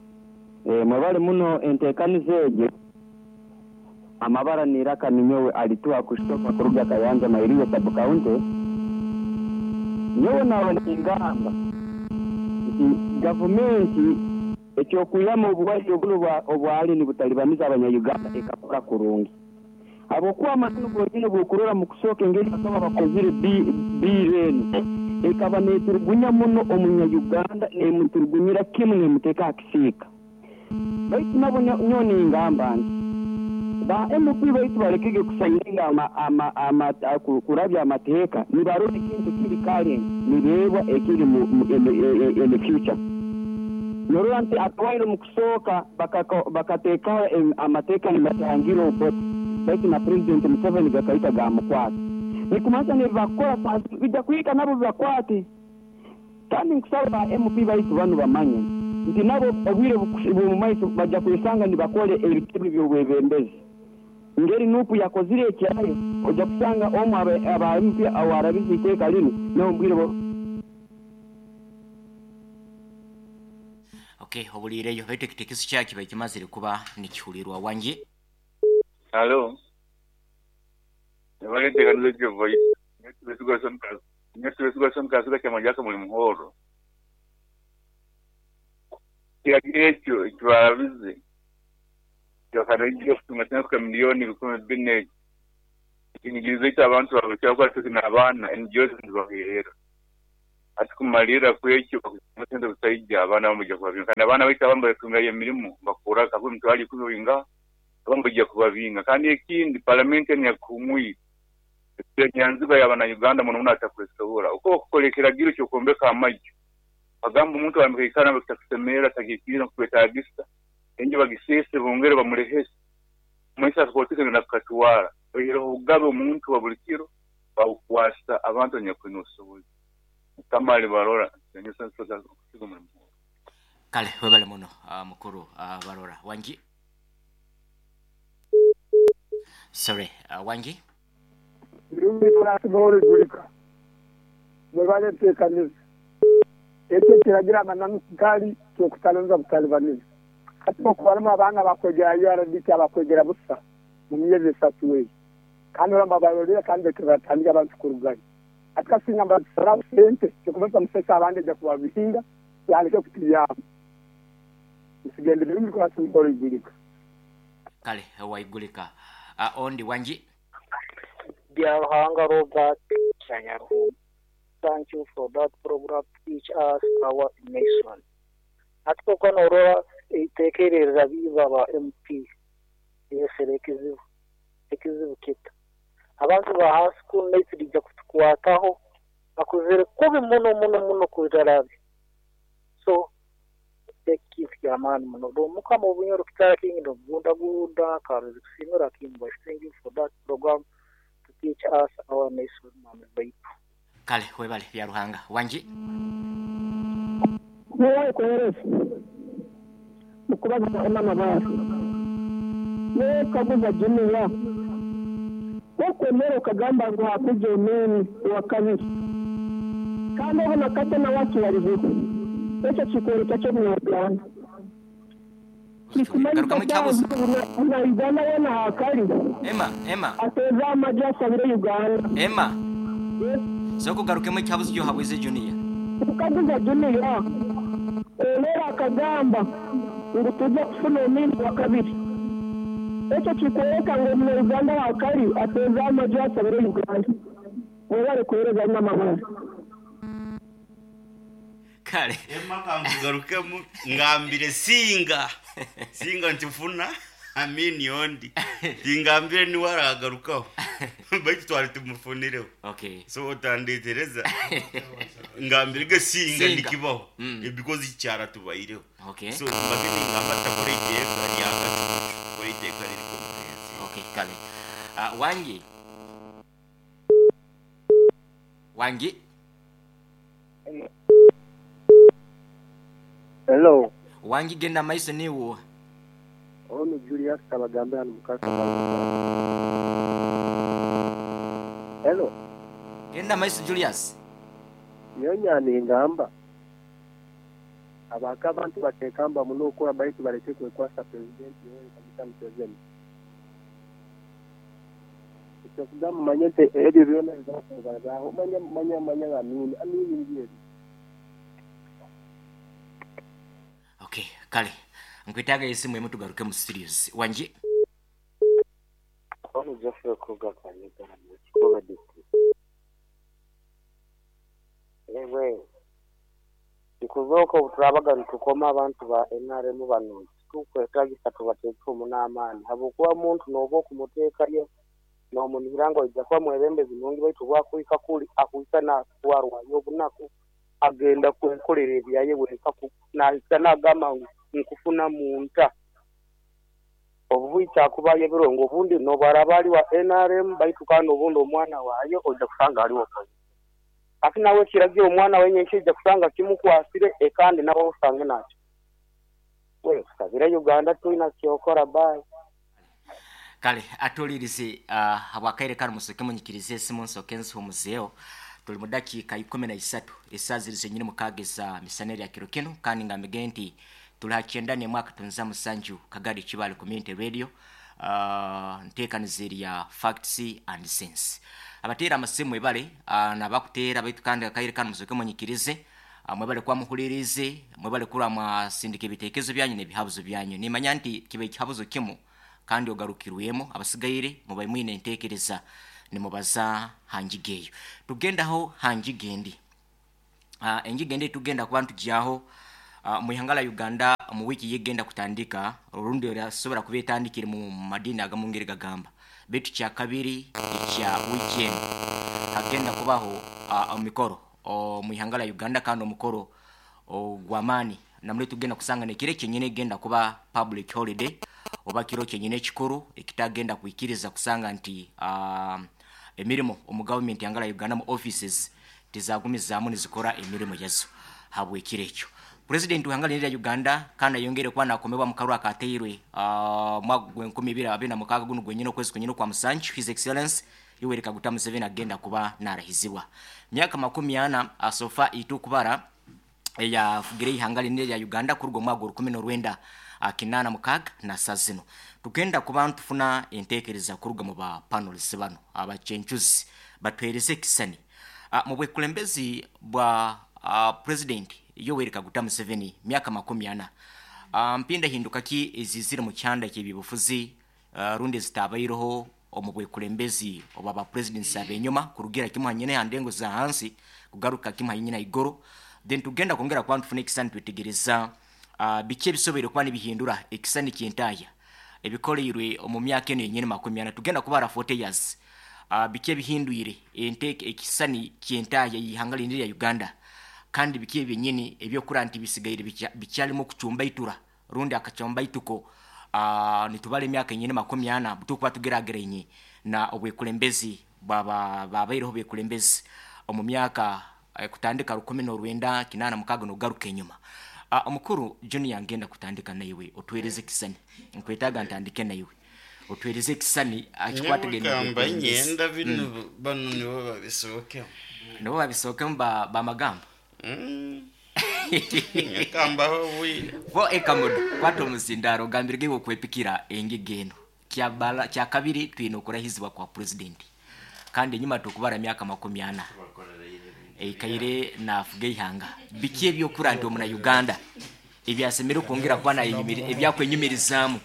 Mwebale muno enteekaniza egyo. Amabara niraka ninyowe alituwa kushtoka kuruga Kayanja Mairiyo sub county. Nyowe nawe ningamba nti gavumenti ekyokwihamu obuwaire obuno obwali nibutalibaniza abanya-Uganda ekakora kurungi. Habwokuba amananu gonyini bw'okurora mu kusooka engeri bakaba bakozire bill enu ekaba neeturugunya muno omunya-Uganda neemuturugunyira kimu neemuteeka aha kisiika. Baitu nabo nyowe ningamba nti ba MP baitu balekege kusaininga kurabya amateeka nibarora ekintu kiri current nibeebwa ekiri in the future. Norora nti akawaire mu kusooka bakateekaho amateeka nibatangira Obote baitu na President Museveni gakaita gamukwata. Nikumanyisa nibakora bijja kuhika nabo bibakwate. Kandi nkusaba ba MP baitu banu bamanye nti nabo obwire bw'omu maiso bajja kwesanga nibakora ebitebe by'obwebembezi. Ngeri nupu yakozire ekyayo ojja kusanga omu aba MP awarabize iteeka linu nawe mbwire Okay, obuliireyo baitu ekitekerezo kyakyo bakimazire kuba nikihulirwa. Wangi? Halo. Nibalenteekaniza ekyo voice. Nyowe Tibesiga Kaziga Kyamagye Akamuli Muhoro. Ekiragiro ekyo ekibarabize kyakaragira kutunga sente kuhika miliyoni 4,000 ekyo. Ekinyigirizo ekyo abantu babikira kuba n'abaana NGOs nizibaheerera. Hati kumalirra kwekyo bakutunga sente busaija abaana bamwe baija kubabinga kandi abaana baitu abamu baritungayo emirimo bakora kakuba emitwaro 10 winga abamu baija kubabinga. Kandi ekindi palamenti enu yakuhumwire enyanzigwa y'abana-Uganda muno muno atakwesobora. Uko bakukora ekiragiro ky'okwombeka amaju bagamba omuntu wamikaikara bakitakusemerera tagikiire nkukwetagisa enju bagiseese bongere bamulehese omumaisho akakooti kagenda kukatwara oihireho obugabe omuntu wa buli kiro babukwasa abantu abanyakwine obusobozi. Mukama alibarora. Kale webale muno mukuru Barora. Wangi? Sorry, wangi? Birungi turasigora igurika. Mwebale enteekaniza. Ekyo ekiragira amananu gali ky'okutalinza butalibaniza. Hati okubaramu abaana bakwegera URDT abakwegera busa mu myezi 3 eyo. Kandi oramba babarorera kandi batandika abantu kurugayo. Ati kasinga mbatusaraho sente kyokubasa musesa abandi ejja kubabihinga yandike kutuyamba. Nsigende birungi turasigora igurika. Kale waigulika. Ondi wangi? Byaruhanga Robert Sanyaruhunga. Thank you for that program to teach us our nation. Ati koko norora itekerereza biba ba MP yesere ekizibu ekizibu kita abantu ba high school naitrijja kutukwataho akuzere kubi muno muno muno kuzarabi so ekintu ky'amaani muno mukama obunyoro kitara kingi nobugunda gunda karuzi kusimira kimbo. Thank you for that program to teach us our nation mama baitu. Kale webale Byaruhanga. Wangi? Niwe kohereza mukubaza emama baro niwe kaguza juniya wokwemera ukagamba ngu hakuje omeni wa kabiri kandi obona kate na wakibarizeho ekyo kikwereka kyo mu Uganda Garukamu ekyabuzo. Na Uganda wena hakari Emma, Emma. Ateza amajja asabire Uganda. Emma. Soko garukemu ekyabuzo gyo habweze juniya. Ukaguza juniya olera akagamba ngu tujja kufuna omwini wa kabiri ekyo kikwereka ngu omu Uganda hakari ateza amajja asabire Uganda. Mwebale kuhereza n'amahoro. Kale Emma kankugarukemu ngambire singa singa ntifuna amini ondi tingambire niwe aragarukaho baitu twari tumufunireho. Okay. So otandetereza ngambire ge singa nikibaho because icyara tubaireho. Okay. So mbageni ngamba takora iteka ryakacucu kora iteka riri comprehensive. Okay, kale. Wangi. Wangi. Hello. Wangi genda maiso niwo. Ono Julius Kabagambe hano mukasa. Hello. Genda maiso Julius. Nyonya ningamba. Abaka abantu batekamba muno okora baitu bareke kwekwasa president Yoweri Kaguta Museveni. Ekyo manyete ebyo byona bizakubazaho manya manya manya amini amini ngiye. Okay, kale. Nkwitaga esimu emu tugaruke mu studios. Wangi? Ono Jeffrey Kruger Kanyega mu Kikoba district. Ewe ikuzoka obuturabaga nitukoma abantu ba NRM bano tukwetagisa tubateeke omunaamaani habwokuba omuntu n'oba okumuteekayo n'omunihira ngu aija kuba mwebembezi nungi baitu bwakuhika kuli akuhika naatwarwayo obunaku agenda kwekolera ebyaye wenka nahika nagamba ngu nkufuna munta obuhwikya akubayo ebirongo obundi nobaraba ali wa NRM baitu kandi obundi omwana waayo ojja kusanga aliwo ati nawe kiragira omwana wenye nkijja kusanga kimukwasire ekandi nawe osange nakyo we kusabira Uganda tulina kyokora bye. Kale atulirize habwakaire kano musoke munyikirize esimu nsoke nsuhumuzeeho. Tuli mu dakiika 13 esaaha ziri zenyini mukaaga misaneri ya kiro kino kandi ngambige nti tuli ha 97 Kagadi Kibale Community Radio nteekaniza erya Facts and Sense. Abateera amasimu mwebale nabakuteera baitu kandi akaire kanu musooke munyikirize. Mwebale kuba muhuliriize, mwebale kuba mwasindika ebiteekerezo byanyu n'ebihabuzo byanyu. Nimanya nti kiba ekihabuzo kimu kandi ogarukirwemu, abasigaire mubaire mwine enteekereza nimubaza ha ngiga eyo. Tugendaho ha ngiga endi. Engiga endi eitugenda kuba nitugyaho omu ihanga lya Uganda omu wiiki ey'egenda kutandika, orundi erasobora kuba etandikire mu madiini agamu ngeri gagamba. Baitu kyakabiri ekya wiiki enu hagenda kubaho emikoro omu ihanga lya Uganda kandi omukoro ogw'amaani namuli tugenda kusanga n'ekiro kyenyini egenda kuba public holiday oba kiro kyenyini ekikuru ekitagenda kwikiriza kusanga nti emirimo omu gavumenti ihanga lya Uganda mu offices tizagumizaamu nizikora emirimo yazo habw'ekiro ekyo. Purezidenti w'ihanga linu erya Uganda kandi ayongeire kuba nakomebwa omu karuru akateirwe omwaka gw'enkumi ibiri abiri na mukaaga gunu gwenyini okwezi kwenyini okwa Musanju, His Excellency Yoweri Kaguta Museveni agenda kuba narahizibwa. Myaka 40 so far itwe okubara eyafugire eihanga linu erya Uganda kuruga omwaka gw'orukumi n'orwenda kinaana mukaaga na saaha zinu. Tugenda kuba nitufuna entekereza kuruga mu ba panelists banu abacencuzi batuhereze ekisani Mu bwekulembezi bwa Purezidenti Yoweri Kaguta Museveni myaka 40, mpindahinduka ki eziizire mu kyanda ky'ebyobufuzi rundi ezitaabaireho omu bwekulembezi obwa ba Purezidenti ab'enyuma kurugira kimu hanyine ha ndengo za hansi kugaruka kimu hanyine haiguru? Then tugenda kwongera kuba nitufuna ekisani nitwetegereza biki ebisoboire kuba nibihindura ekisani ky'entaaya ebikoleirwe omu myaka enu yenyini 40. Tugenda kubara 40 years. Biki ebihindwire enteeka ekisisani ky'entaahya y'ihanga linu erya Uganda? Kandi biki ebyenyini eby'okura nti bisigaire bikyalimu okucumbaitura rundi akacumbaituko? Nitubara emyaka enyini 40 obuturukuba tugeragerainye na obwekulembezi bwa babaireho bekulembezi omu myaka kutandika 1986 n'okugaruka enyuma. Omukuru Junior ngenda kutandika naiwe otuhereze ekisisani. Nkwetaaga ntandike naiwe. Otuhereze ekisisani Nyowe kamba nyenda binu banu nibo babisookemu. Nibo babisookemu bamagamba? Nkambaho obwire. Bo ekamodo kwata omuzindaaro ogambirege iwe okwepikira engiga eno. Kyakabiri twine okurahizibwa kwa Purezidenti kandi enyima tukubara myaka 40 eikaire nafuga eihanga. Biki ebyokura nti omuna Uganda ebyasemereire kwongera kuba ebyakwenyumirizaamu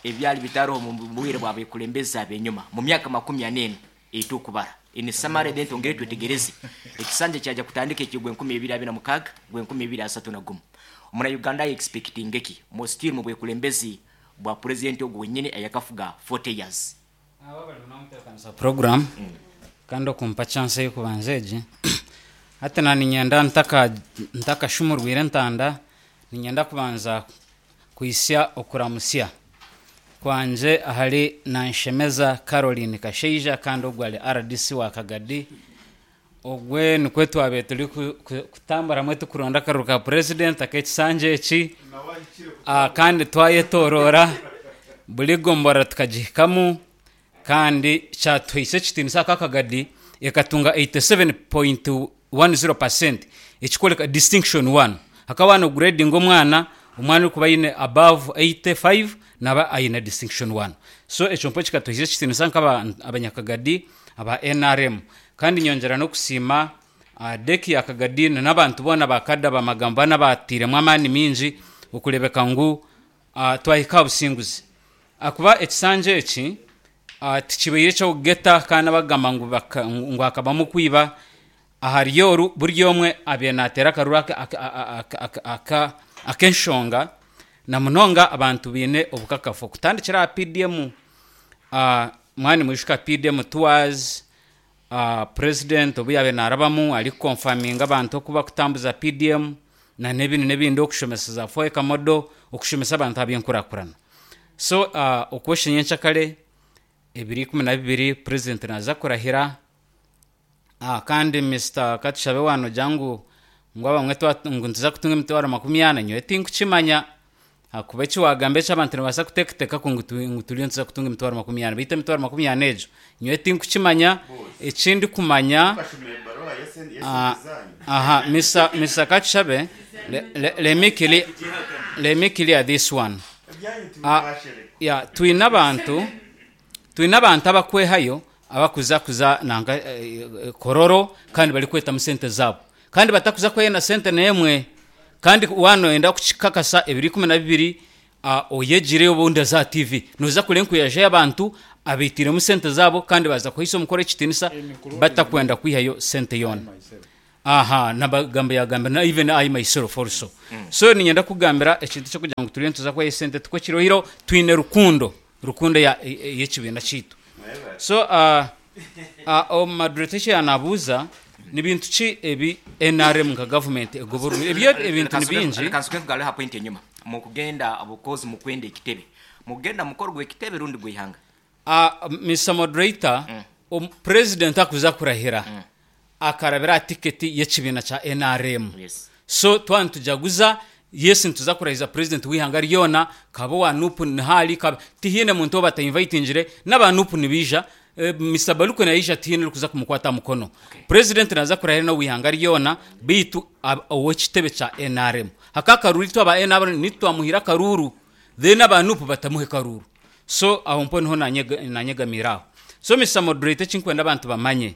ebyali bitaroho omu bwire bwa bekulembezi abenyuma mu myaka 40 enu eitukubara? In summary then twongere twetegereze ekisanja kyaja kutandika ekyo gwenkumi ebiri abiri na mukaaga gwenkumi ebiri asatu na gumu. Omuna Uganda aye expectinge ki mu still mu bwekulembezi bwa purezidenti ogu wenyini ayakafuga 40 years? Program kandi okumpa chance ey'okubanza egi. Hati na niinyenda ntakashumurwire entanda, niinyenda kubanza kuhitsya okuramutsya kwangye ahari Nanshemeza Caroline Kashaija kandi ogwo ari rdc wa Kagadi. Ogwe nikwo twabaire turi kutambura hamwe turikuronda akaruru ka purezidenti ak'ekisanja eki kandi twayetoroora buri gomborora tukagihikamu kandi kyatuhaisa ekitiinisa aka Kagadi ekatunga 87.10 percent ekikworeka distinction one. Hakaba waaba nogureedinga omwana, omwana orikuba aine above 85 naaba aine distinction one. So ekyo nikwo kikatuhaisa ekitiinisa nk'abanyakagadi aba nrm. Kandi nyongyera n'okusiima Deki ya Kagadi na n'abantu boona ba Kada ab'amagambo bana abaatairemu amaani maingi okureebeka ngu twahika aha businguzi. Ahakuba ekisanja eki tikibaire eky'okugeta kandi abakugamba ngu hakabamu okwiba ahari oru, buri omwe abaire naateera akaruru ak'enshonga na munonga abantu baine obukakafu. Okutandikira aha PDM, mwaba nimwijuka PDM tours, President obu yaabaire naarabamu arikukonfaminga abantu oku bakutambuza PDM na n'ebindi n'ebindi okushomesa za FOECA model okushomesa abantu aha by'enkurakurana. So okwosha nyenkyakare ebiro 12 President naaza kurahira kandi Mister Katushabe waaba noogira ngu ngu abamwe ngu nituza kutunga emitwaro 40 nyowe tinkukimanya Ahakuba eki waagamba eki abantu nibabaasa kuteekateeka ngu turiyo nituza kutunga emitwaro 40. Beitu emitwaro 40 egyo nyowe tinkukimanya. Eki ndikumanya, aha, Mister, Mister Katushabe, let me clear, let me clear this one. Yeah, twine abantu, twine abantu abakwehayo. abakuza kuza nanka Kololo kandi barikwetamu sente zaabo kandi batakuza kweyena sente n'emwe kandi waaba noyenda kukikakasa ebiro 12 oyegire obundi oze aha TV noza kureeba enkuyaja y'abantu abaitiiremu sente zaabo kandi baaza kuhaisa omukoro ekitiinisa batakwenda kwihayo sente yoona. Aha nabagamba yagamba na even I myself also. So niinyenda kukugambira ekintu eky'okugira ngu turiyo nituza kuhayo esente tikwo kiri oihireho twine rukundo, rukundo eya ey'ekibiina kyaitu. So omu moderator eki yaanabuuza ni bintu ki ebi nrm nka gavumenti egoborwire? Ebyo ebintu ni bingi. Reka nsoke nkugarure aha point enyima. Mukugenda because mukwenda ekitebe. Mukugenda mukoro gw'ekitebe rundi gw'eihanga? Mister Moderator, President akuza kurahira akarabira aha tiketi y'ekibiina kya nrm. So twaba nitujaguza, yes nituza kurahiza President w'eihanga ryona, kabe owa Nup niho ari, kabe, tihaine muntu ou batainvitingire, n'aba Nup nibaija, Mister Baluku naija tihaine orikuza kumukwata aha mukono. President naaza kurahira n'ow'eihanga ryona beitu ow'ekitebe kya nrm. Haka akaruru itwe aba nrm nitwe twamuhaire akaruuru. Then aba nup batamuhe karuuru. So aho mpo niho nanyegamiire aho. So Mister Moderator ekinkwenda abantu bamanye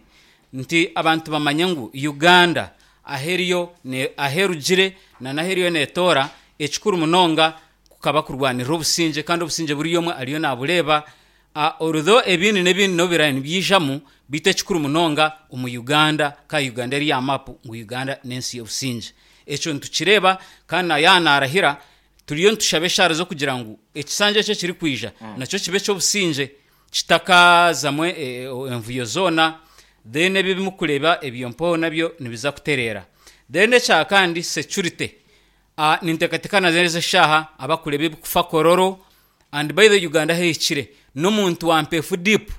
nti abantu bamanye ngu Uganda ahu eriyo ahu erugire na n'ahu eriyo netoora ekikuru munonga kukaba kurwanirira obusingye kandi obusingye buri omwe ariyo nabureeba although ebindi n'ebindi nobu biraabe nibyijamu beitu ekikuru munonga omu Uganda ka Uganda eri aha map ngu Uganda n'ensi y'obusingye. Ekyo nitukireeba kandi na yaaba narahira Turiyo nitushaba eshaara z'okugira ngu ekisanja eki ekirikwija nakyo kibe eky'obusingye kitakazamu envuyo zoona then ebi ebimukureeba ebyo mpaho nabyo nibiza kutereera. Then ekya kandi security, ninteekateeka nazo ezi eshaaha abakureeba ebikufa Kololo and by the way Uganda ahu ehikire n'omuntu wa Mpeefu deep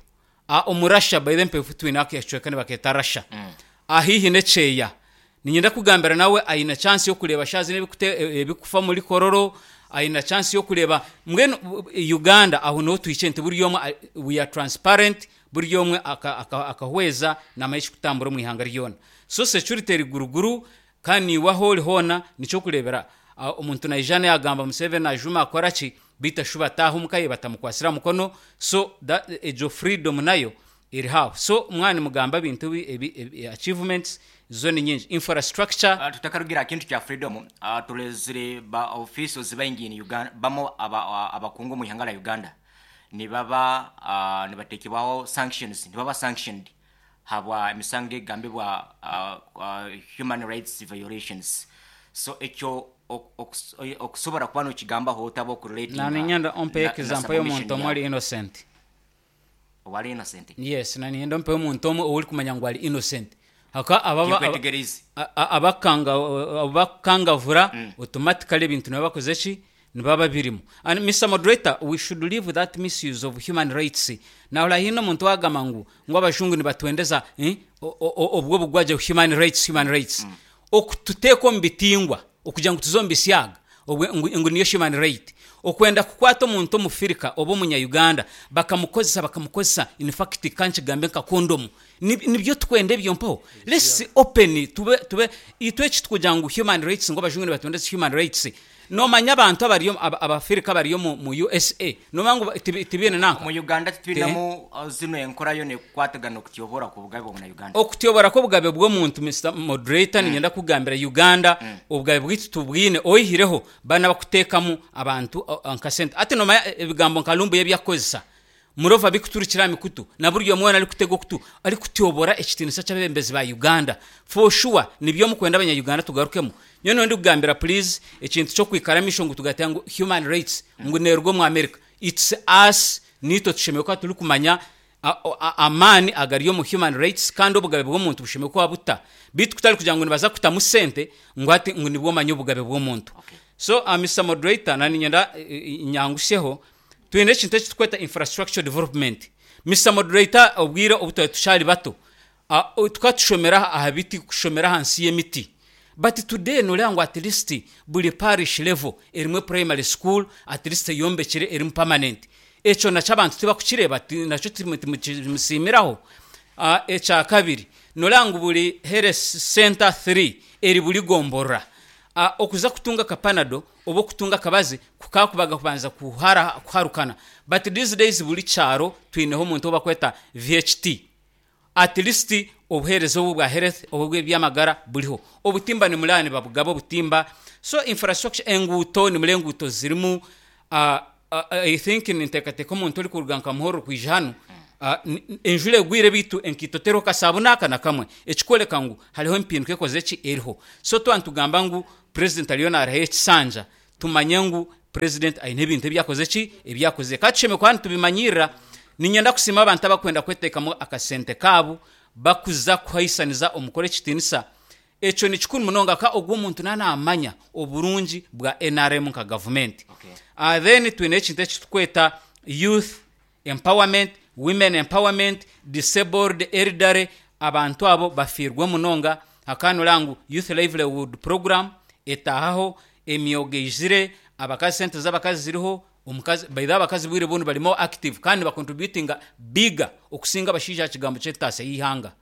Omu Russia, by the way Mpeefu twine akacweka nibakeeta Russia, haihi n'ekyeya. Niinyenda kukugambira nawe aine chance y'okureeba shaaha zinu ebirikufa omuri Kololo, aine chance y'okureeba mbwenu Uganda aho niho tuhikire nti buri omwe we are transparent, buri omwe akahweza naamanya ekirikutambura omu ihanga ryona. So security eri guruguru kandi naiwe ahu ori hoona nikyokureebera omuntu naija naagamba Museveni ajuma akora ki, beitu ashuba ataaha omuka ye batamukwasire aha mukono, so egyo freedom nayo Eriho aho. So mwaba nimugamba ebintu ebi, ebi, achievements zo ni nyingi. Infrastructure. Tutakarugire aha kintu kya freedom, turezire ba officials baingi in Uganda, bamu aba abakungu omu ihanga rya Uganda nibaba nibatekebwaho sanctions, nibaba sanctioned habwa emisango egambibwa human rights violations. So ekyo okusobora kuba nokigambaho ota Na okurelatinga niinyenda ompe na example y'omuntu submission omwe ori yawe. innocent. Owari innocent. Yes, na niinyenda ompe omuntu omwe ou orikumanya ngu ari innocent. Ahakuba aba Tinkwetegeriize. abakukanga abakukangavura automatically ebintu nibaba bakoze ki? Nibaba babirimu. And Mister Moderator, we should leave that misuse of human rights. Nahurira haine omuntu owagamba ngu ngu abajungu nibatwendeza obwo obugwagye human rights, human rights. Okututeeka omu bitingwa okugira ngu tuze omu bisyaga obwe ngu ngu niyo human right. Okwenda kukwata omuntu omufirika oba omunya Uganda bakamukozesa bakamukozesa in fact ka nkigambe nka kondomu ni nibyo tukwenda ebyo mpaho? Let's open tube tube itwe eki tukugira ngu human rights ngu abajungu nibatwendeza human rights nomanya abantu abari abafirika abari omu mu usa nomanya ngu tibi tibiine nanka Omu Uganda titwinemu zinu enkora yoona ekukwatagana okutyobora kw'obugabe bw'omuna Uganda. Okutyobora kw'obugabe bw'omuntu Mister Moderator niinyenda kukugambira Uganda obugabe bwaitu tubwine oihireho banu abakuteekamu abantu nka sente hati nomanya ebigambo nka Lumbuye ebi akukozesa Murova bikuturukira aha mikutu na buri omwe weena arikutega okutu arikutyobora ekitiinisa ky'abeebembezi ba Uganda for sure nibyo mukwenda abanya Uganda tugarukemu nyowe niiwe ndikugambira please ekintu ky'okwikara amaisho ngu tugateeka ngu human rights ngu neeruga omu America it's us niitwe tushemereire kuba turikumanya amaani agari omu human rights kandi obugabe bw'omuntu bushemereire kuba buta beitu kutari kugira ngu nibaza kutamu sente ngu hati ngu nibwo omanye obugabe bw'omuntu so Mister Moderator na niinyenda nyangusyeho Twine ekintu eki turikweta infrastructure development. Mister Moderator, obwire obu twari tukyari bato, tukaba tushomera aha biti, kushomera ahansi y'emiti. But today noreeba ngu at least buri parish level erimu primary school at least eyombekire erimu permanent. Ekyo nakyo abantu tibakukireeba, nakyo timukimusiimiraho. Ekyakabiri, noreeba ngu buri health centre three eri buri gomborora. Okuza kutunga aka panado oba okutunga akabazi kukakubaga kubanza kuharukana but these days buri kyaro twineho omuntu ou bakweta VHT at least obuheereza obu obwa health oba obw'eby'amagara buriho. Obutimba nimureba nibabugaba obutimba so infrastructure enguuto nimureba enguuto zirimu I think ninteekateeka omuntu orikuruga nka Muhorro kwija hanu enjura egwire beitu enkaito teriho kasaabuni aka na kamwe ekikworeka ngu hariho empinduka ekozire ki eriho. So twaba nitugamba ngu purezidenti ariyo naarahayo ekisanja tumanye ngu purezidenti aine ebintu ebi akozire ki ebi akozire. Ka tushemereire kuba nitubimanyirira. Niinyenda kusiima abantu abarikwenda kweteekamu akasente kaabo bakuza kuhaisaniza omukoro ekitiinisa. Ekyo ni kikuru munonga ka ogwo omuntu naaba naamanya oburungi bwa nrm nka gavumenti. Then twine ekintu eki turikweta youth empowerment, women empowerment, disabled, elderly, abantu abo bafiirwe munonga. Hakaba noreeba ngu youth livelihood program etaahaho, emyoga eizire, abakazi sente z'abakazi ziriho, omukazi by the way abakazi obwire obundi bari more active kandi nibacontributinga bigger okusinga abashaija aha kigambo ky'entaasya y'eihanga.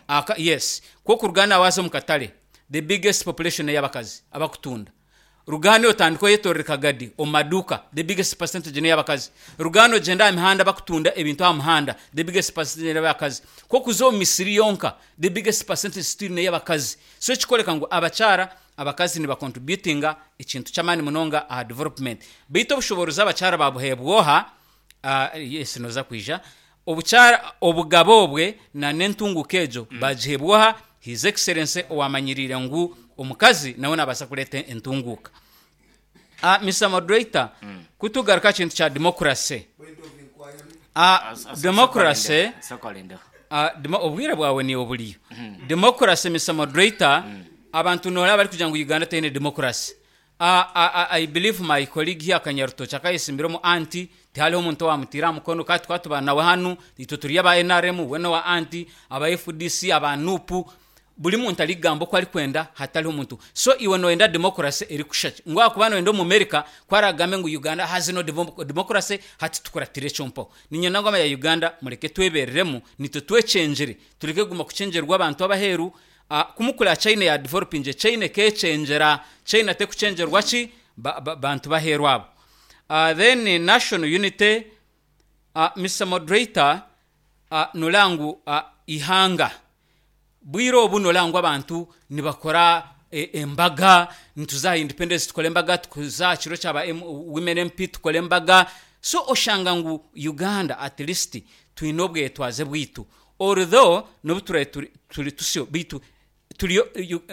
Aka yes kwonka Ruganda waaza omu katare the biggest population n'ey'abakazi abakutunda. Ruganda otandika oyetorora kagadi omu maduuka the biggest percentage n'ey'abakazi. Ruganda ogyenda aha mihanda abakutunda ebintu aha muhanda the biggest percentage n'ey'abakazi. Ku okuza omu misiri yonka the biggest percentage still n'ey'abakazi. So ekikworeka ngu abakyara abakazi niba contributinga ekintu ky'amaani munonga aha development. Beitu obushoboorozi abakyara babuheebwa oha? Yes noza kwija. Obukyara obugabe obwe na n'entunguka egyo bagiheebwa oha? His Excellency owamanyiriire ngu omukazi nawe nabaasa kureeta entunguuka. Mister Moderator, ku tugaruka aha kintu kya democracy, democracy, obwire bwawe niiwe buriyo. Democracy Mister Moderator, abantu noreeba barikugira ngu Uganda teine democracy. I believe my colleague here Kanyarutoki akayesimbira omu anti tihariho omuntu owamutiire aha mukono kandi tukaba tuba nawe hanu itwe turi aba nrm we nowa anti aba fdc aba nup buri muntu arikugamba oku arikwenda hatariho muntu so iwe noyenda democracy erikusha ki ngu ahakuba noyenda omumerica ku aragambe ngu Uganda has no democracy hati tukuratire ekyo mpaho niinyenda ngu abanya Uganda mureke twebereremu nitwe twekyengyere tureke kuguma kukyengyerwa abantu abaheru Ku mukura China ya developingire, China ekekyengyera, China tekukyengyerwa ki? Bantu b'aheeru abo. Then national unity, Mister Moderator, noreeba ngu eihanga bwire obu noreeba ngu abantu nibakora embaga, nituza aha independence tukore embaga, tuza aha kiro kya ba women MP tukore embaga, so oshanga ngu Uganda at least twine obwetwaze bwaitu. Although nobu turabe turi turi tusyo beitu turiyo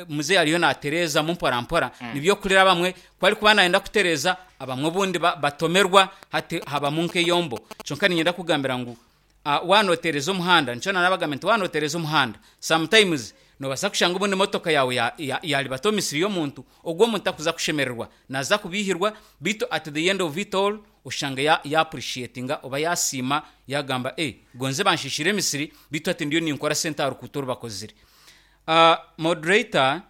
mzee ariyo natereezamu mpora mpora nibyo okurira abamwe ku arikuba nayenda kutereeza abamwe obundi batomerwa hati habamu nk'eyombo kyonka niinyenda kukugambira ngu waaba noteereza omuhanda nikyo naanabagambira nti waaba noteereza omuhanda sometimes noobaasa kushanga obundi emotoka yaawe yaaribata omu misiri y'omuntu ogwo omuntu takuza kushemererwa naaza kubiihirwa beitu at the end of it all Oshanga ya ya appreciatinga oba yasiima yagamba eh gonze banshiishire emisiri beitu hati ndiyo ninkora sente aha rukuuto oru bakozire. Moderator,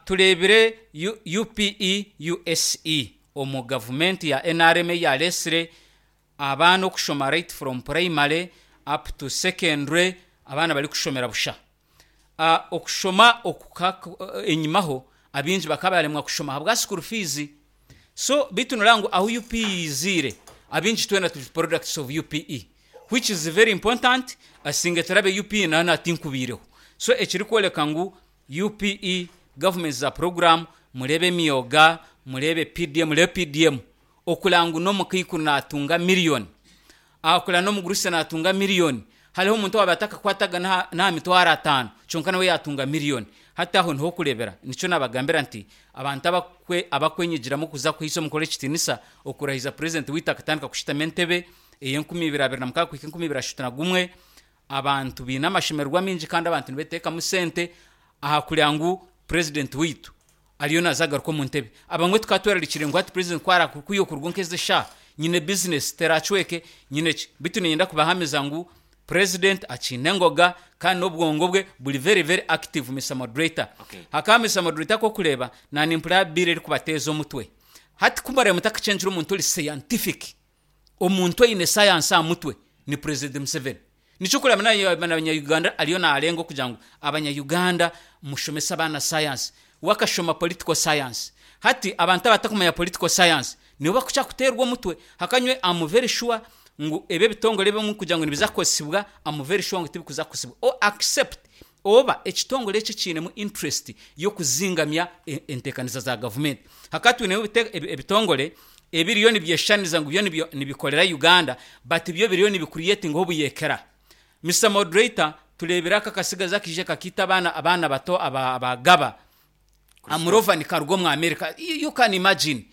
tureebire UPE USE omu gavumenti ya nrm ei yareetsire abaana okushoma right from primary up to secondary abaana barikushomera busha. Okushoma oku enyimaho abaingi bakaba baremwa kushoma ahabwa school fees so beitu noreeba ngu ahu UPE yiziire abaingi twena turi products of UPE which is very important singa etarabe UPE nayo natinkubaireho so ekirikworeka ngu UPE government za program mureebe emyoga mureebe PDM mureebe PDM okureba ngu n'omukaikuru natunga million Ahakurira n'omugurusi naatunga miriyoni. Hariho omuntu owaabaire atakakwataga n'aha mitwaro ataano, kyonka nawe yaatunga miriyoni. Hati aho niho okureebera. Nikyo naabagambira nti, abantu abakwenyigiramu kuza kuhaisa omukoro ekitiinisa, okurahiza purezidenti waitu akatandika kushutama entebe ey'enkumi ibiri abiri na mukaaga kuhika enkumi ibiri ashatu na gumwe, abantu baine amashemererwa maingi kandi abantu nibeteekamu sente aha kureba ngu purezidenti waitu ariyo naaza agaruka omu ntebe. Abamwe tukaba twerarikiriire ngu hati purezidenti ku araakwiha okuruga nk'ezi eshaaha, nyine bizinesi teraacweke, nyine ki. Beitu niinyenda kubahamiza ngu purezidenti akiine engoga kandi n'obwongo bwe buri very very active Mister Moderator. Hakaba Mister Moderator ku orikureeba naanimpurira bill erikubateeza omutwe. Hati ku muraabe mutakacengire omuntu ori scientific, Omuntu oine sayansi aha mutwe ni Purezidenti Museveni. Nikyo orikureeba n'abanya Uganda ariyo naarenga okugira ngu abanya Uganda mushomese abaana sayansi. We akashoma political science. Hati abantu abatakumanya political science nibo bakukira kuteerwa omutwe. Hakanywe am very sure ngu ebi ebitongore ebimwe kugira ngu nibiza kukozesibwa am very sure ngu tibikuza kukozesibwa o accept oba ekitongore eki ekiinemu interest y'okuzingamya enteekaniza za gavumenti. Hakaba twinemu ebitongore ebiriyo nibyeshushaniriza ngu byo nibikorera Uganda but byo biriyo nibi creatingaho obuyeekera. Mister Moderator, tureebire aka akasigazi akaija kakiita abaana abaana bato aba aba Gaba, Amurova nikaruga omu America. You can imagine.